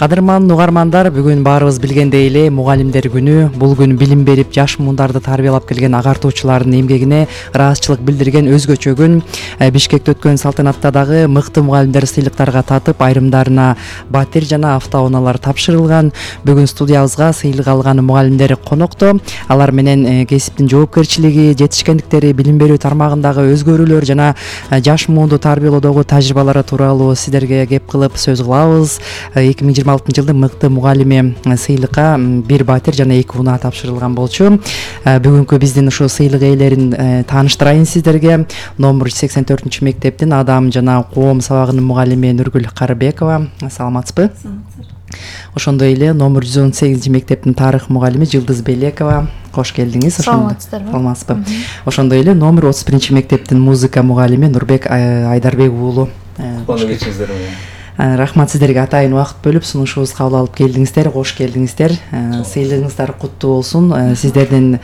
Кадырман угармандар, бүгүн баарыбыз билгендей эле мугалимдер күнү. Бул күн билим берип, жаш мундарды тарбиялап келген агартуучулардын эмгегине ыраазычылык билдирген өзгөчө күн. Бишкекте өткөн салтанатта дагы мыкты мугалимдер сыйлыктарга татып, айрымдарына батир жана автоунаалар тапшырылган. Бүгүн студиябызга сыйлык алган мугалимдер конокто. Алар менен кесиптин жоопкерчилиги, жетишкендиктери, билим берүү тармагындагы өзгөрүүлөр жана жаш муунду тарбиялоодогу тажрыйбалары тууралуу сиздерге кеп кылып сөз кылабыз. эки миң жыйырма алтынчы жылдын мыкты мугалими сыйлыкка бир батир жана эки унаа тапшырылган болчу. Бүгүнкү биздин ушул сыйлык ээлерин тааныштырайын сиздерге. Номер жүз сексен төртүнчү мектептин Адам жана коом сабагынын мугалими Нургүл Карыбекова. Саламатсызбы? Ошондой эле номер жүз он сегизинчи мектептин тарых мугалими Жылдыз Белекова. Кош келдиңиз. Саламатсыздарбы? Саламатсызбы? Ошондой эле номер отуз биринчи мектептин музыка мугалими Нурбек Айдарбек уулу. Кош келиңиздер. Рахмат сиздерге атайын убакыт бөлүп сунушубузга кабыл алып келдиңиздер. Кош келдиңиздер. Сыйлыгыңыздар куттуу болсун. Сиздердин